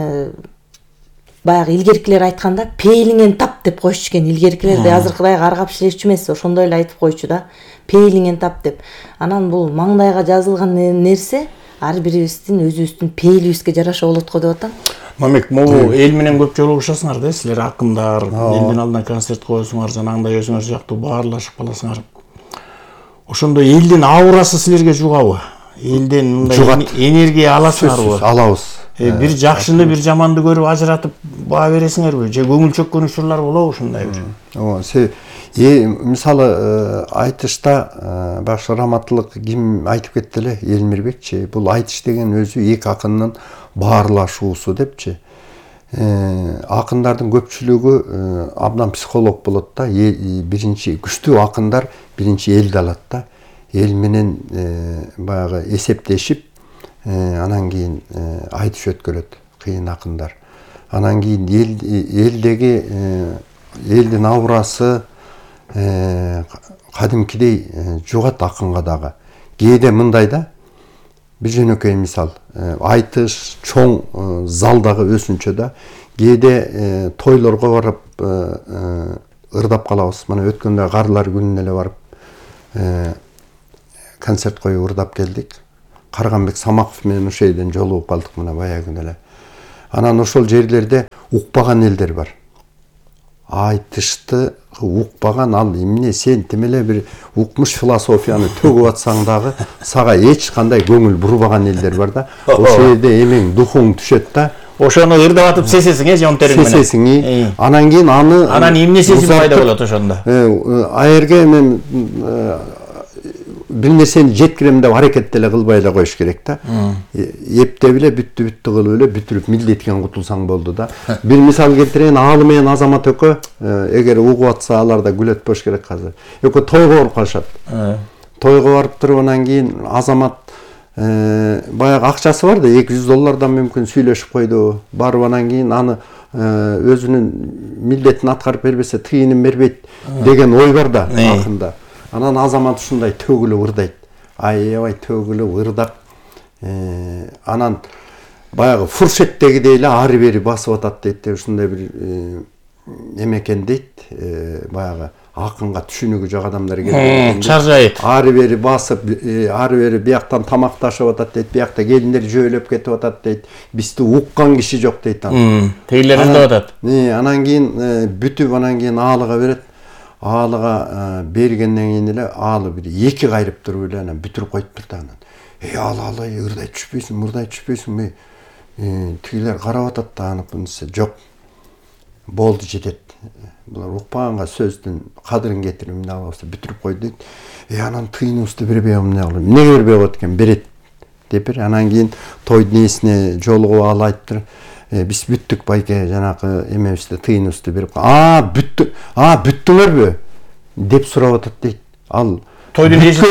C: баягы илгеркилер айтканда пейлиңен тап деп коюшчу экен. Илгеркилерди азыркыдай каргап шилешчү эмес, ошондой эле айтып койчу да. Пейлиңен тап деп. Анан бул маңдайга жазылган нерсе ар бирибиздин өзүбүздүн пейлибизге жараша болот го деп атам.
B: Мамек, могу эл менен көп жолугушасыңар да, силер акындар, элдин алдына концерт коесуңар, жанагындай өзүңөр сыяктуу баарлашып каласыңар. Ошондо элдин аурасы силерге жугабы? Элден мындай энергия аласыңарбы?
A: Алабыз.
B: Бир жакшыны, бир жаманды көрүп ажыратып баа бересиңерби? Же көңүл чөккөн учурлар болобу ушундай бир?
A: Ооба, мисалы айтышта башкы раматтылык ким айтып кетти эле, Элмирбекчи. Бул айтыш деген өзү эки акындын баарлашуусу депчи. Акындардын көпчүлүгү абдан психолог болот да. Биринчи күчтүү акындар биринчи элди алат да. Эл менен баягы эсептешип, анан кийин айтыш өткөрөт кыйын акындар. Анан кийин элдеги элдин аурасы кадимкидей жугат акынга дагы. Кээде мындай да, бир жөнөкөй мисал, айтыш чоң залдагы өсүнчө да, кээде тойлорго барып ырдап калабыз. Мына өткөндө Карлар күнүнө эле барып концерт коюп ырдап келдик. Карганбек Самаков менен ошол жерден жолугуп калдык мына баягы эле. Анан ошол жерлерде укпаган элдер бар. Айтышты укпаган, ал эмне сен тим эле бир укмуш философияны төгүп атсаң дагы сага эч кандай көңүл бурбаган элдер бар да. Ошол жерде эмең духуң түшөт да.
B: Ошону ырдап атып сесесиң, э, жон териң менен.
A: Сесесиң. Анан кийин аны
B: анан эмне сезим пайда болот ошондо?
A: Аерге мен бир нерсени жеткирем деп аракет деле кылбай эле коюш керек да. Эптеп эле бүттү бүттү кылып эле бүтүрүп милдеткен кутулсаң болду да. Бир мисал келтирейин, Аалы менен Азамат экөө эгер угуп атса алар да күлөт болуш керек азыр. Экөө тойго барып калышат. Тойго барып туруп анан кийин Азамат баягы акчасы бар да, эки жүз доллардан мүмкүн сүйлөшүп койду. Барып анан кийин аны өзүнүн милдетин аткарып бербесе тыйынын бербейт деген ой бар да акында. Анан Азамат ушундай төгүлүп ырдайт. Аябай төгүлүп ырдап, анан баягы фуршеттегидей эле ары бери басып атат дейт. Ушундай бир эмекен дейт, баягы акынга түшүнүгү жок адамдар келген.
B: Чаржайт.
A: Ары бери басып, ары бери бияктан тамакташып атат дейт, биякта келиндер жөөлөп кетип атат дейт. Бизди уккан киши жок дейт анан.
B: Тейлер ырдап атат.
A: Анан кийин бүтүп анан кийин Аалыга берет. Аалыга бергенден кийин эле Аалы бир эки кайрып туруп эле анан бүтүрүп коюптур да анан. Эй Аалы, Аалы, ырдай түшпөйсүң, мурдай түшпөйсүңбү? Тигилер карап атат да аныкынысы жок. Болду жетет. Булар укпаганга сөздүн кадырын кетирип эмне алабызда бүтүрүп койду дейт. Э анан тыйыныбызды бербей эмне кылып? Эмнеге бербей коет экен? Берет деп бер. Анан кийин тойдун ээсине жолугуп Аалы айтыптыр. Биз бүттүк байке, жанакы эмебизди тыйыныбызды берип. А, бүттү. А, бүттүңөрбү? деп сурап атат дейт. Ал
B: тойдун ээси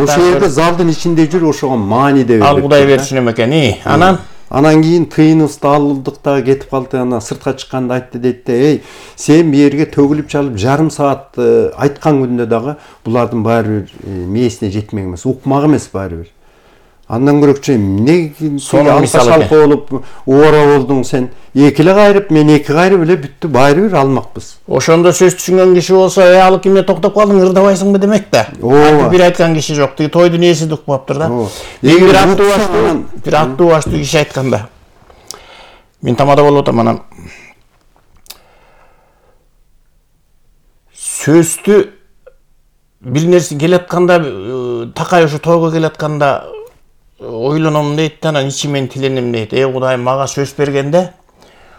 A: ошол жерде залдын ичинде жүр, ошого маани деп.
B: Ал Кудай берсин экен. Анан
A: Анан кийин тыйыныбызды алдык да кетип калды. Анан сыртка чыкканда айтты дейт да, эй, сен бу жерге төгүлүп чалып жарым саат айткан күндө дагы булардын баары бир мээсине жетмек эмес, укмак эмес баары бир. Андан көрөкчү эмне алкашалка болуп убара болдуң сен? Эки эле кайрып, мен эки кайрып эле бүттү, баары бир алмакпыз.
B: Ошондо сөз түшүнгөн киши болсо, э, алып эмне токтоп калдың, ырдабайсыңбы демек да. Бир айткан киши жок, тиги тойдун ээси укпаптыр да. Бир аттуу баштуу, бир аттуу баштуу киши айтканда. Мен тамада болуп атам, анан сөздү бир нерсе келатканда, такай ушу тойго келатканда ойлоном дейт, анан ичимен тиленем дейт. Эй Кудайым, мага сөз бергенде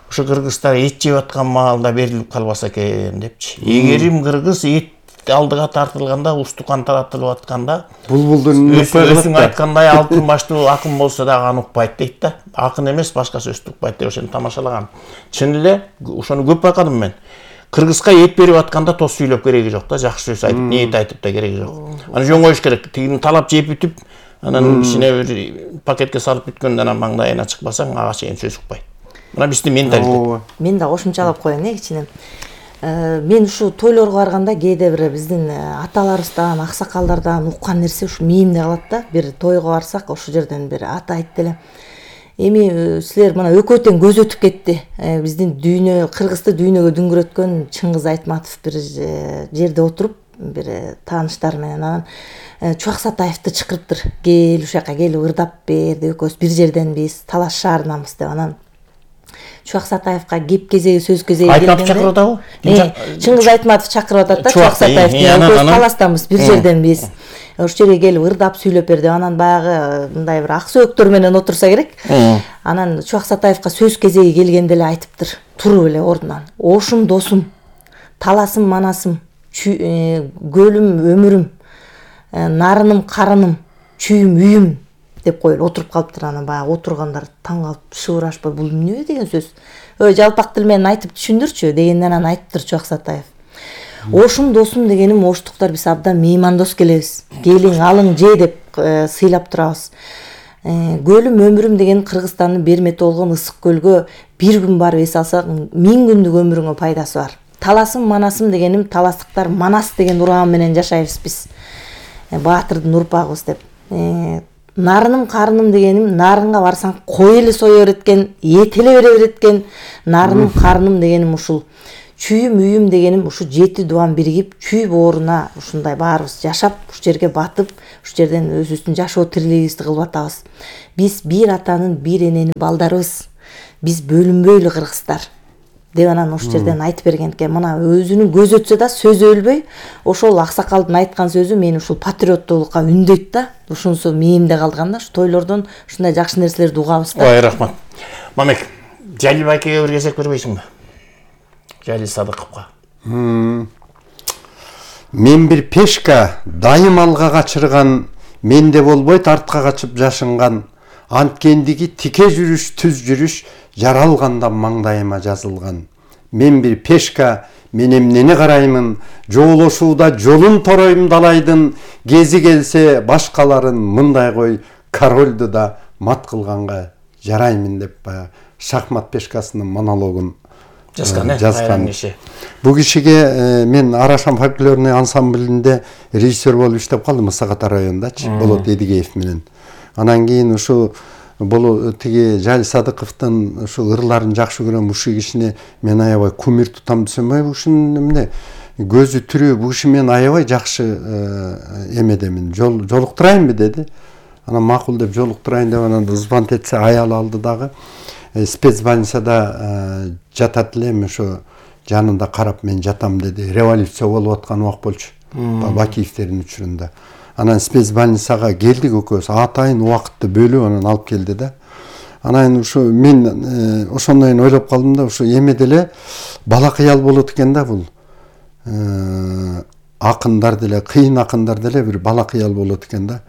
B: ушу кыргыздар эт жеп аткан маалда берилип калбаса экен депчи. Эгерим кыргыз эт алдыга тартылганда, устукан таратылып атканда,
A: булбулдун
B: өзүң айткандай алтын баштуу акын болсо дагы аны укпайт дейт да. Акын эмес, башка сөздү укпайт деп ошону тамашалаган. Чын эле ошону көп байкадым мен. Кыргызга эт берип атканда тос сүйлөп кереги жок да, жакшы сөз айтып, ниет айтып да кереги жок. Аны жөн коюш керек. Тигини талап жеп бүтүп, анан кичине бир пакетке салып бүткөндөн анан маңдайына чыкпасаң, ага чейин сөз укпайт. Мына биздин менталитет.
C: Мен да кошумчалап коеюн, э, кичине. Мен ушу тойлорго барганда кээде бир биздин аталарыбыздан, аксакалдардан уккан нерсе ушу мээримде калат да. Бир тойго барсак, ошол жерден бир ата айтты эле. Эми силер мына экөө тең көз өтүп кетти. Биздин дүйнө, Кыргызды дүйнөгө дүңгүрөткөн Чыңгыз Айтматов бир жерде отуруп, бир тааныштар менен анан Чубак Сатаевди чакырыптыр. Кел ушул жака келип ырдап бер деп, экөөбүз бир жерденбиз, Талаш шаарынанбыз деп. Анан Чубак Сатаевга кеп кезеги, сөз кезеги келгенде
B: Айтматов чакырып атабы?
C: Чыңгыз Айтматов чакырып атат да, Чубак Сатаевди. Экөөбүз Таластанбыз, бир жерденбиз. Ошол жерге келип ырдап сүйлөп берди. Анан баягы мындай бир ак сөөктөр менен отурса керек. Анан Чубак Сатаевга сөз кезеги келгенде эле айтыптыр, туруп эле ордунан. Ошум досум, таласым манасым, көлүм өмүрүм, нарыным карыным, чүйүм үйүм деп коюп отуруп калыптыр. Анан баягы отургандар таң калып шыбырашпай, бул эмне деген сөз? Ой, жалпак тил менен айтып түшүндүрчү дегенден анан айтыптыр Чубак Сатаев. Ошум досум дегеним оштуктар биз абдан меймандос келебиз. Келиң, алың, же деп сыйлап турабыз. Көлүм өмүрүм деген Кыргызстандын бермети болгон ысык көлгө бир күн барып эс алсак, миң күндүк өмүрүңө пайдасы бар. Таласым манасым дегеним таластыктар манас деген ураан менен жашайбыз биз. Баатырдын урпагыбыз деп. Нарыным карыным дегеним нарынга барсаң кой эле сое берет экен, эт эле бере берет экен. Нарыным карыным дегеним ушул. чүйүм үйүм дегеним ушу жети дубан биригип чүй бооруна ушундай баарыбыз жашап ушул жерге батып ушул жерден өзүбүздүн жашоо тирилигибизди кылып атабыз. Биз бир атанын бир эненин балдарыбыз. Биз бөлүнбөйлү кыргыздар деп анан ошол жерден айтып берген экен. Мына өзүнүн көзү өтсө да сөзү өлбөй. Ошол аксакалдын айткан сөзү мени ушул патриоттуулукка үндөйт да. Ушунусу мээримде калган да. Ушу тойлордон ушундай жакшы нерселерди угабыз да.
B: Ой, рахмат. Мамек, Жалил байкеге бир кезек бербейсиңби? Жалил Садыковго.
A: Мен бир пешка дайым алга качырган, менде болбойт артка качып жашынган, анткендиги тике жүрүш, түз жүрүш жаралганда маңдайыма жазылган. Мен бир пешка, мен эмнени караймын, жоолошууда жолун торойм далайдын, кези келсе башкаларын мындай кой, корольду да мат кылганга жараймын деп баягы шахмат пешкасынын монологун
B: жазган э,
A: жазган
B: киши.
A: Бул кишиге мен Арашан фольклорный ансамблинде режиссер болуп иштеп калдым Саката районундачы, Болот Эдигеев менен. Анан кийин ушу бул тиги Жалил Садыковдун ушу ырларын жакшы көрөм, ушул кишини мен аябай кумир тутам десем, ушунун эмне көзү түрүү, бул киши мен аябай жакшы эмедемин, жолуктурайынбы деди. Анан макул деп жолуктурайын деп анан звонок этсе аял алды дагы. Спецбольницада жатат элем, ошо жанында карап мен жатам деди. Революция болуп аткан убак болчу. Бакиевтердин учурунда. Анан спецбольницага келдик экөөбүз, атайын убакытты бөлүп анан алып келди да. Анан ушу мен ошондон ойлоп калдым да, ушу эме деле бала кыял болот экен да бул. Акындар деле, кыйын акындар деле бир бала кыял болот экен да.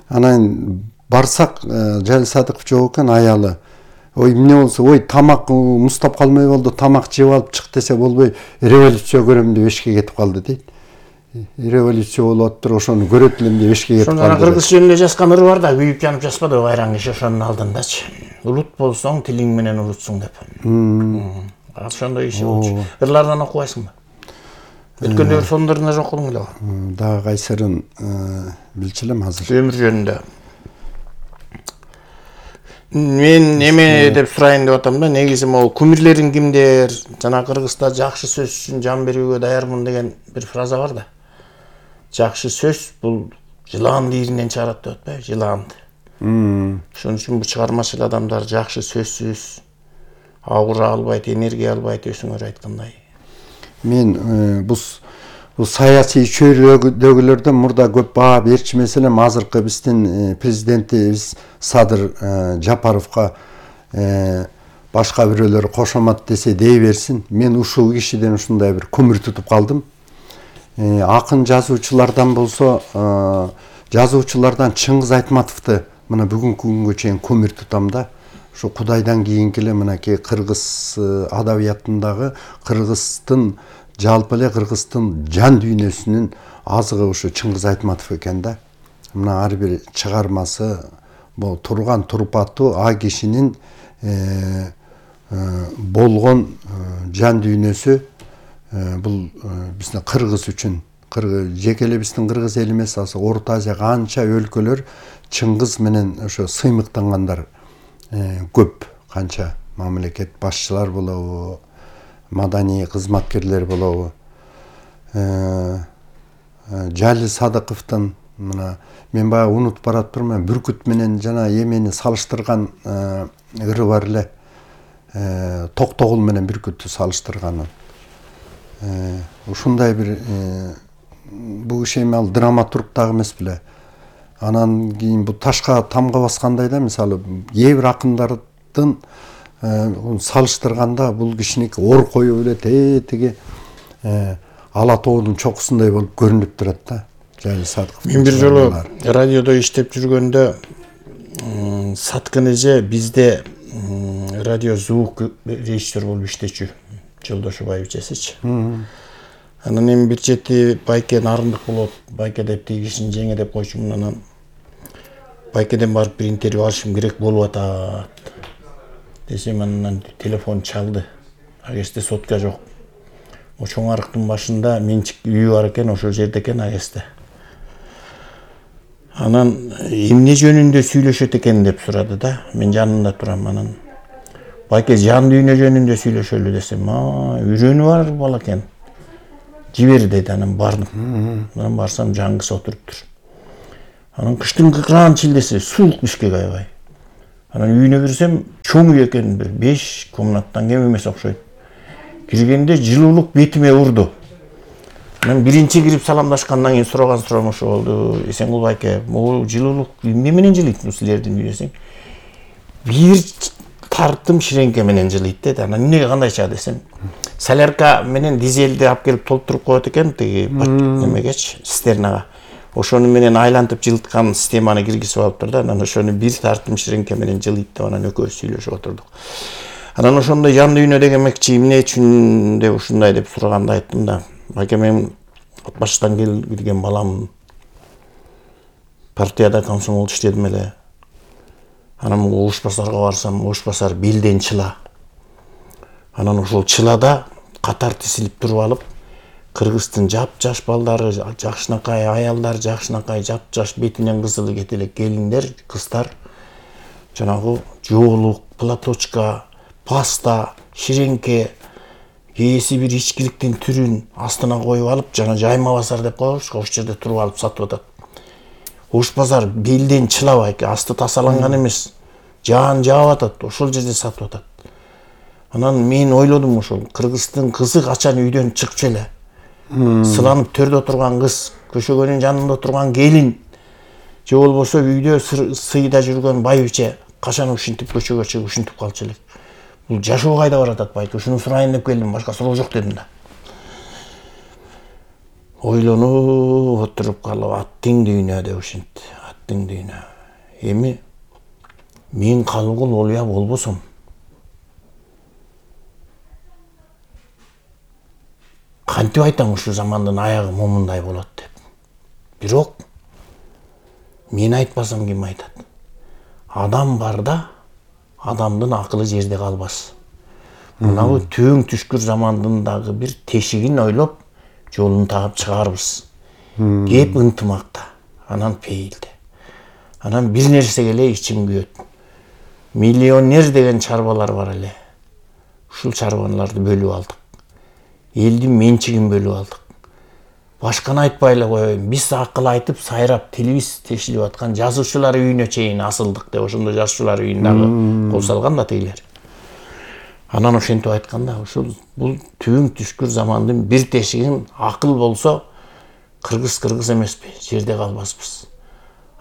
A: Анан барсак Жалил Садыков жок экен, аялы. Ой, эмне болсо, ой, тамак муздап калмай болду, тамак жеп алып чык десе болбой, революция көрөм деп эшикке кетип калды дейт. Революция болуп атыптыр, ошону көрөт элем деп эшикке кетип калды.
B: Ошондо кыргыз жөнүндө жазган ыры бар да, күйүп жанып жазбады байраң киши ошонун алдындачы. Улут болсоң тилиң менен улутсуң деп. Ошондой киши болчу. Ырлардан окубайсыңбы? Өткөндө бир сондорунда жок кылдың эле.
A: Дагы кайсырын билчү элем азыр.
B: Өмүр жөнүндө. Мен неме деп сурайын деп атам да, негизи могу кумирлерин кимдер, жана Кыргызда жакшы сөз үчүн жан берүүгө даярмын деген бир фраза бар да. Жакшы сөз бул жылаанды иринен чыгарат деп атпайбы, жылаанды. Ошон үчүн бул чыгармачыл адамдар жакшы сөзсүз аура албайт, энергия албайт, өзүңөр айткандай.
A: Мен бул бул саясий чөйрөдөгүлөрдөн мурда көп баа берчү маселем, азыркы биздин президентибиз Садыр Жапаровго башка бирөөлөр кошомат десе дей берсин. Мен ушул кишиден ушундай бир көмүр тутуп калдым. Акын жазуучулардан болсо, жазуучулардан Чыңгыз Айтматовду мына бүгүнкү күнгө чейин көмүр тутам да. Ушу Кудайдан кийинки эле мынакей кыргыз адабиятындагы кыргыздын жалпы эле кыргыздын жан дүйнөсүнүн азыгы ушу Чыңгыз Айтматов экен да. Мына ар бир чыгармасы, бул турган турпату а кишинин болгон жан дүйнөсү, бул биздин кыргыз үчүн, жеке эле биздин кыргыз эл эмес, Орто Азия канча өлкөлөр Чыңгыз менен ошо сыймыктангандар көп, канча мамлекет башчылар болобу, маданий кызматкерлер болобу. Жалил Садыковдун мына мен баягы унутуп баратпырмын, бүркүт менен жана эмени салыштырган ыры бар эле. Токтогул менен бүркүттү салыштырганы. Ушундай бир бул киши эми ал драматург дагы эмес беле. Анан кийин бул ташка тамга баскандай да, мисалы кээ бир акындардын салыштырганда бул кишиники ор коюп эле тетиги ала тоонун чокусундай болуп көрүнүп турат да. Жалил Садыков.
B: Мен бир жолу радиодо иштеп жүргөндө Саткын эже бизде радио звук режиссер болуп иштечү, Жолдошубаев эжесичи. Анан эми бир чети Байке нарындык болот, Байке деп тиги кишини жеңе деп койчумун. Анан Байкеден барып бир интервью алышым керек болуп атат десем, анан телефон чалды. Агесте сотка жок. О чоң арыктын башында менчик үйү бар экен, ошол жерде экен Агесте. Анан эмне жөнүндө сүйлөшөт экен деп сурады да. Мен жанында турам. Анан Байке жан дүйнө жөнүндө сүйлөшөлү десем, а үйрөнү бар бала экен. Жибер деди, анан бардым. Анан барсам жаңгысы отуруптур. Анан кыштын кыкран чилдеси, суук Бишкек аябай. Анан үйүнө кирсем, чоң үй экен, бир беш комнаттан кем эмес окшойт. Киргенде жылуулук бетиме урду. Анан биринчи кирип саламдашкандан кийин сураган суроом ошо болду. Эсенгул байке, могу жылуулук эмне менен жылыйт силердин үй десең? Бир тартым ширеңке менен жылыйт деди. Анан эмнеге кандайча десем, солярка менен дизелди алып келип толтуруп коет экен тиги немегечи, цистернага. Ошону менен айлантып жылыткан системаны киргизип алыптыр да, анан ошону бир тартым ширеңке менен жылыйт деп анан экөөбүз сүйлөшүп отурдук. Анан ошондой жан дүйнө дегенмекчи эмне үчүн деп ушундай деп сураганда айттым да, байке мен от баштан келген балам, партияда комсомолдо иштедим эле. Анан Ош базарга барсам, Ош базар белден чыла. Анан ошол чылада катар тизилип туруп алып, Кыргыздын жап-жаш балдары, жакшынакай аялдар, жакшынакай жап-жаш бетинен кызылы кетелек келиндер, кыздар жанагы жоолук, платочка, паста, ширеңке, кээси бир ичкиликтин түрүн астына коюп алып, жана жайма базар деп коебуз, ошол жерде туруп алып сатып атат. Ош базар белден чыла байке, асты тасаланган эмес. Жаан жаап атат, ошол жерде сатып атат. Анан мен ойлодум ошол, Кыргыздын кызы качан үйдөн чыкчу эле. Сыланып төрдө отурган кыз, көшөгөнүн жанында турган келин, же болбосо үйдө сыйда жүргөн байбиче качан ушинтип көчөгө чыгып ушинтип калчу элек. Бул жашоо кайда баратат байке, ушуну сурайын деп келдим, башка суроо жок дедим да. Ойлонуп отуруп калып, аттың дүйнө деп ушинтти, аттың дүйнө. Эми мен калгыл олуя болбосом, кантип айтам ушул замандын аягы момундай болот деп. Бирок мен айтпасам ким айтат? Адам барда адамдын акылы жерде калбас. Мынабу төң түшкүр замандын дагы бир тешигин ойлоп, жолун таап чыгарбыз. Кеп ынтымакта, анан пейилде. Анан бир нерсеге эле ичим күйөт. Миллионер деген чарбалар бар эле. Ушул чарбаларды бөлүп алдык. Элдин менчигин бөлүп алдык. Башканы айтпай эле коеюн. Биз акыл айтып, сайрап, телевиз тешилип аткан жазуучулар үйүнө чейин асылдык деп, ошондо жазуучулар үйүн дагы кол салган да тегилер. Анан ошентип айтканда, ушул бул төң түшкүр замандын бир тешигин акыл болсо, кыргыз кыргыз эмеспи, жерде калбаспыз.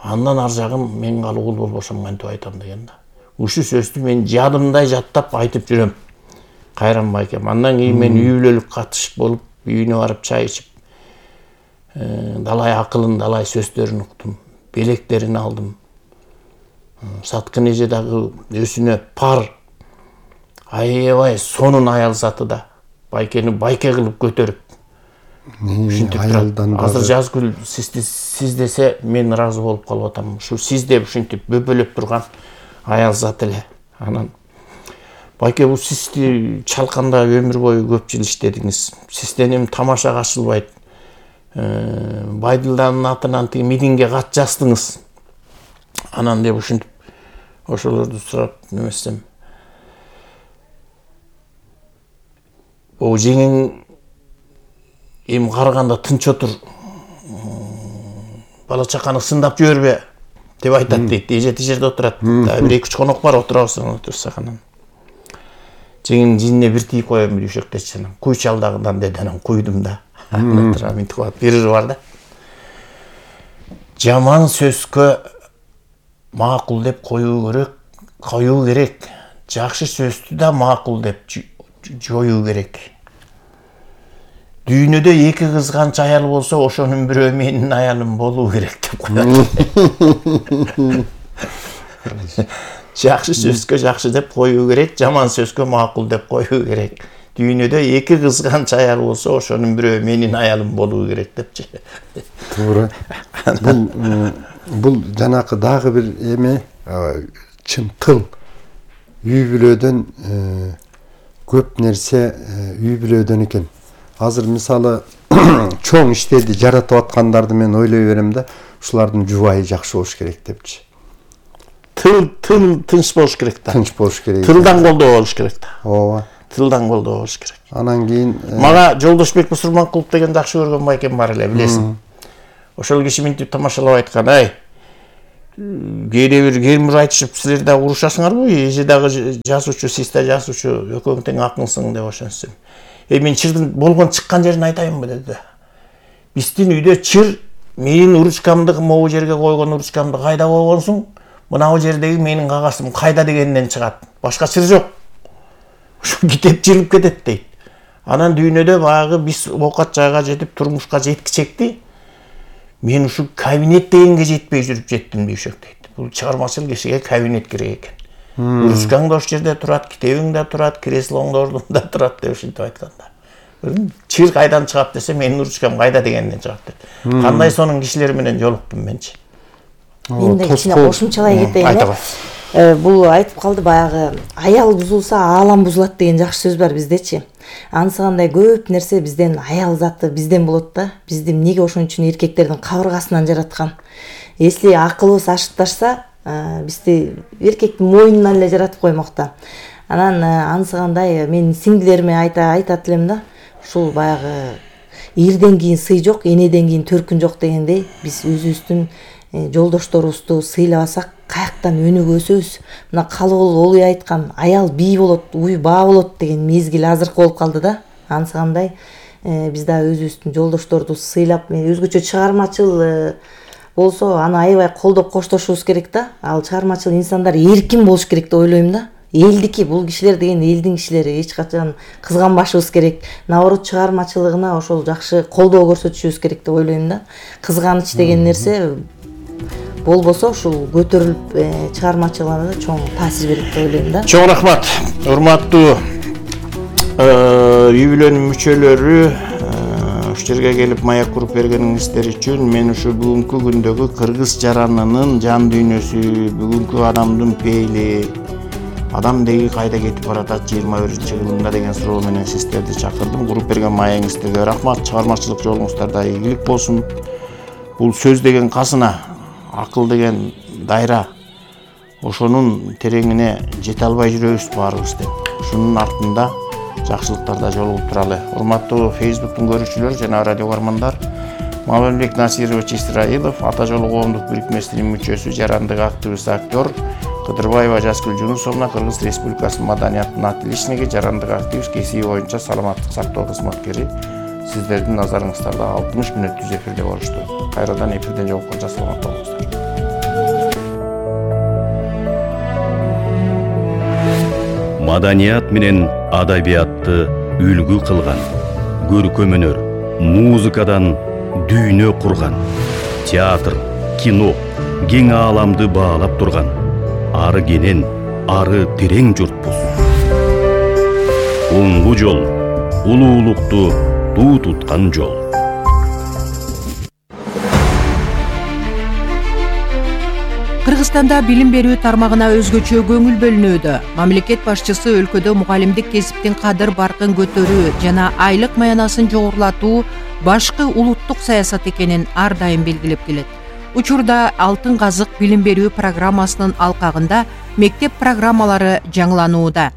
B: Андан ар жагым мен калгыл болбосом кантип айтам деген да. Ушул сөздү мен жадымдай жаттап айтып жүрөм. Кайран байкем. Андан кийин мен үй бүлөлүк катышып болуп, үйүнө барып чай ичип, далай акылын, далай сөздөрүн уктум, белектерин алдым. Саткын эже дагы өзүнө пар, аябай сонун аял заты да, байкени байке кылып көтөрүп, ушинтип турат. Азыр Жазгүл сиз десе мен ыраазы болуп калып атам. Ушу сиз деп ушинтип бөпөлөп турган аял зат эле. Анан байке бул сизди чалканда өмүр бою көп жыл иштедиңиз. Сизден эми тамаша качылбайт. Байдылданын атынан тиги митингге кат жаздыңыз. Анан деп ушинтип ошолорду сурап немесем. О жеңең эми караганда тынч отур. Бала чаканы сындап жибербе деп айтат дейт. Эже тижерде отурат. Бир эки үч конок бар, отурабыз, отурсак анан. Жеңин жинне бир тийип коем дүйшөктечи анан. Куй чалдагынан деди, анан куйдум да. Анан мынтип калат. Бир ыры бар да. Жаман сөзгө макул деп коюу керек, коюу керек. Жакшы сөздү да макул деп жоюу керек. Дүйнөдө эки кыз канча аял болсо, ошонун бирөө менин аялым болуу керек деп коет. Жакшы сөзгө жакшы деп коюу керек, жаман сөзгө макул деп коюу керек. Дүйнөдө эки кыз канча аял болсо, ошонун бирөө менин аялым болуу керек депчи.
A: Туура. Бул бул жанакы дагы бир эме, чын тыл. Үй бүлөдөн көп нерсе үй бүлөдөн экен. Азыр мисалы чоң иштерди жаратып аткандарды мен ойлой берем да, ушулардын жубайы жакшы болуш керек депчи.
B: тыл тыл тынч болуш керек да.
A: Тынч болуш керек.
B: Тылдан колдоо болуш керек да.
A: Ооба.
B: Тылдан колдоо болуш керек.
A: Анан кийин
B: мага Жолдошбек Бусурманкулов деген жакшы көргөн байкем бар эле, билесиң. Ошол киши минтип тамашалап айткан, ай, кээде бир кемир айтышып силер да урушасыңарбы? Эже дагы жазуучу, сиз да жазуучу, экөөң тең акылсың деп ошентсем. Э мен чырдын болгон чыккан жерин айтайынбы деди. Биздин үйдө чыр менин уручкамды могу жерге койгон уручкамды кайда койгонсуң? Мынау жердеги менин кагасым кайда дегенден чыгат. Башка чыр жок. Ушу китеп жылып кетет дейт. Анан дүйнөдө баягы биз оокат жайга жетип турмушка жеткичекти. Мен ушу кабинет дегенге жетпей жүрүп жеттим дейшек дейт. Бул чыгармачыл кишиге кабинет керек экен. Уручкаң да ошол жерде турат, китебиң да турат, креслоң да ордунда турат деп ушинтип айтканда. Чыр кайдан чыгат десе, менин уручкам кайда дегенден чыгат дейт. Кандай сонун кишилер менен жолуктум менчи.
C: Мен да кичине кошумчалай кетейин. Бул айтып калды баягы аял бузулса аалам бузулат деген жакшы сөз бар биздечи. Ансыгандай көп нерсе бизден аял заты бизден болот да. Бизди эмнеге ошон үчүн эркектердин кабыргасынан жараткан. Если акылыбыз ашыкташса, бизди эркектин мойнунан эле жаратып коймокта. Анан ансыгандай мен сиңдилериме айта айтат элем да. Ушул баягы эрден кийин сый жок, энеден кийин төркүн жок дегендей, биз өзүбүздүн жолдошторубузду сыйлабасак каяктан өнүгө өсөбүз. Мына Калыгул Олуй айткан аял бий болот, уй баа болот деген мезгил азыркы болуп калды да. Ансыгандай биз да өзүбүздүн жолдошторду сыйлап, өзгөчө чыгармачыл болсо аны аябай колдоп коштошубуз керек да. Ал чыгармачыл инсандар эркин болуш керек деп ойлойм да. Элдики, бул кишилер деген элдин кишилери, эч качан кызганбашыбыз керек. Наоборот, чыгармачылыгына ошол жакшы колдоо көрсөтүшүбүз керек деп ойлойм да. Кызганыч деген нерсе болбосо ушул көтөрүлүп чыгармачылыгына да чоң таасир берет деп ойлойм да.
B: Чоң рахмат. Урматтуу үй бүлөнүн мүчөлөрү, ушул жерге келип маяк куруп бергениңиздер үчүн мен ушу бүгүнкү күндөгү кыргыз жаранынын жан дүйнөсү, бүгүнкү адамдын пейили, адам деги кайда кетип баратат жыйырма биринчи кылымда деген суроо менен сиздерди чакырдым. Куруп берген маегиңиздерге рахмат. Чыгармачылык жолуңуздарда ийгилик болсун. Бул сөз деген казына, акыл деген дайра. Ошонун тереңине жете албай жүрөбүз баарыбыз деп. Ушунун артында жакшылыктарда жолугуп туралы. Урматтуу Facebook'тун көрүүчүлөрү жана радио угармандар, Маматбек Насирович Исраилов, Ата жолу коомдук бирикмесинин мүчөсү, жарандык активист, актер, Кыдырбаева Жазгүл Жунусовна, Кыргыз Республикасынын маданиятынын отличниги, жарандык активист, кесиби боюнча саламаттык сактоо кызматкери. Сиздердин назарыңыздарда алтымыш мүнөт түз эфирде болушту. Кайрадан эфирден жолукканча саламат болуңуздар.
D: Маданият менен адабиятты үлгү кылган, көркөм өнөр, музыкадан дүйнө курган, театр, кино, кең ааламды баалап турган, ары кенен, ары терең журтпуз. Оңгу жол, улуулукту туу туткан жол.
E: Кыргызстанда билим берүү тармагына өзгөчө көңүл бөлүнүүдө. Мамлекет башчысы өлкөдө мугалимдик кесиптин кадыр баркын көтөрүү жана айлык маянасын жогорулатуу башкы улуттук саясат экенин ар дайым белгилеп келет. Учурда Алтын казык билим берүү программасынын алкагында мектеп программалары жаңыланууда.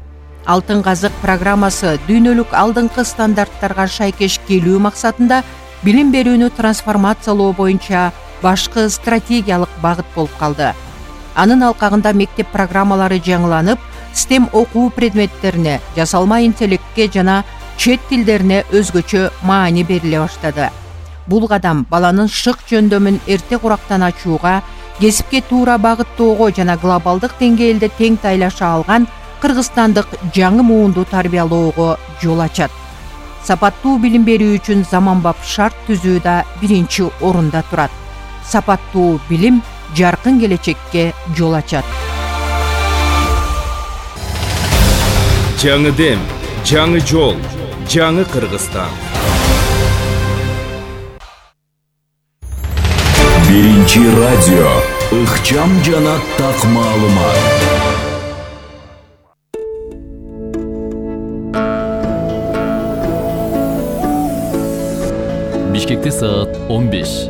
E: Алтын казык программасы дүйнөлүк алдыңкы стандарттарга шайкеш келүү максатында билим берүүнү трансформациялоо боюнча башкы стратегиялык багыт болуп калды. Анын алкагында мектеп программалары жаңыланып, STEM окуу предметтерине, жасалма интеллектке жана чет тилдерине өзгөчө маани бериле баштады. Бул кадам баланын шык жөндөмүн эрте курактан ачууга, кесипке туура багыттоого жана глобалдык деңгээлде тең тайлаша алган кыргызстандык жаңы муунду тарбиялоого жол ачат. Сапаттуу билим берүү үчүн заманбап шарт түзүү да биринчи орунда турат. Сапаттуу билим жаркын келечекке жол ачат.
F: Жаңы дем, жаңы жол, жаңы Кыргызстан.
G: Биринчи радио, ыкчам жана так маалымат.
H: Бишкекте саат он беш.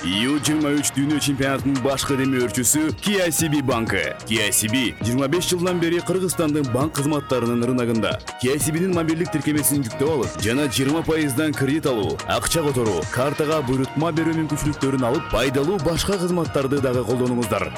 G: YouTube дүйнө чемпионатынын башкы демөөрчүсү кей си би банкы. кей си би жыйырма беш жылдан бери Кыргызстандын банк кызматтарынын рыногунда. кей си би'нин мобилдик тиркемесин жүктөп алып, жана жыйырма пайыздан кредит алуу, акча которуу, картага буйрутма берүү мүмкүнчүлүктөрүн алып, пайдалуу башка кызматтарды дагы колдонуңуздар.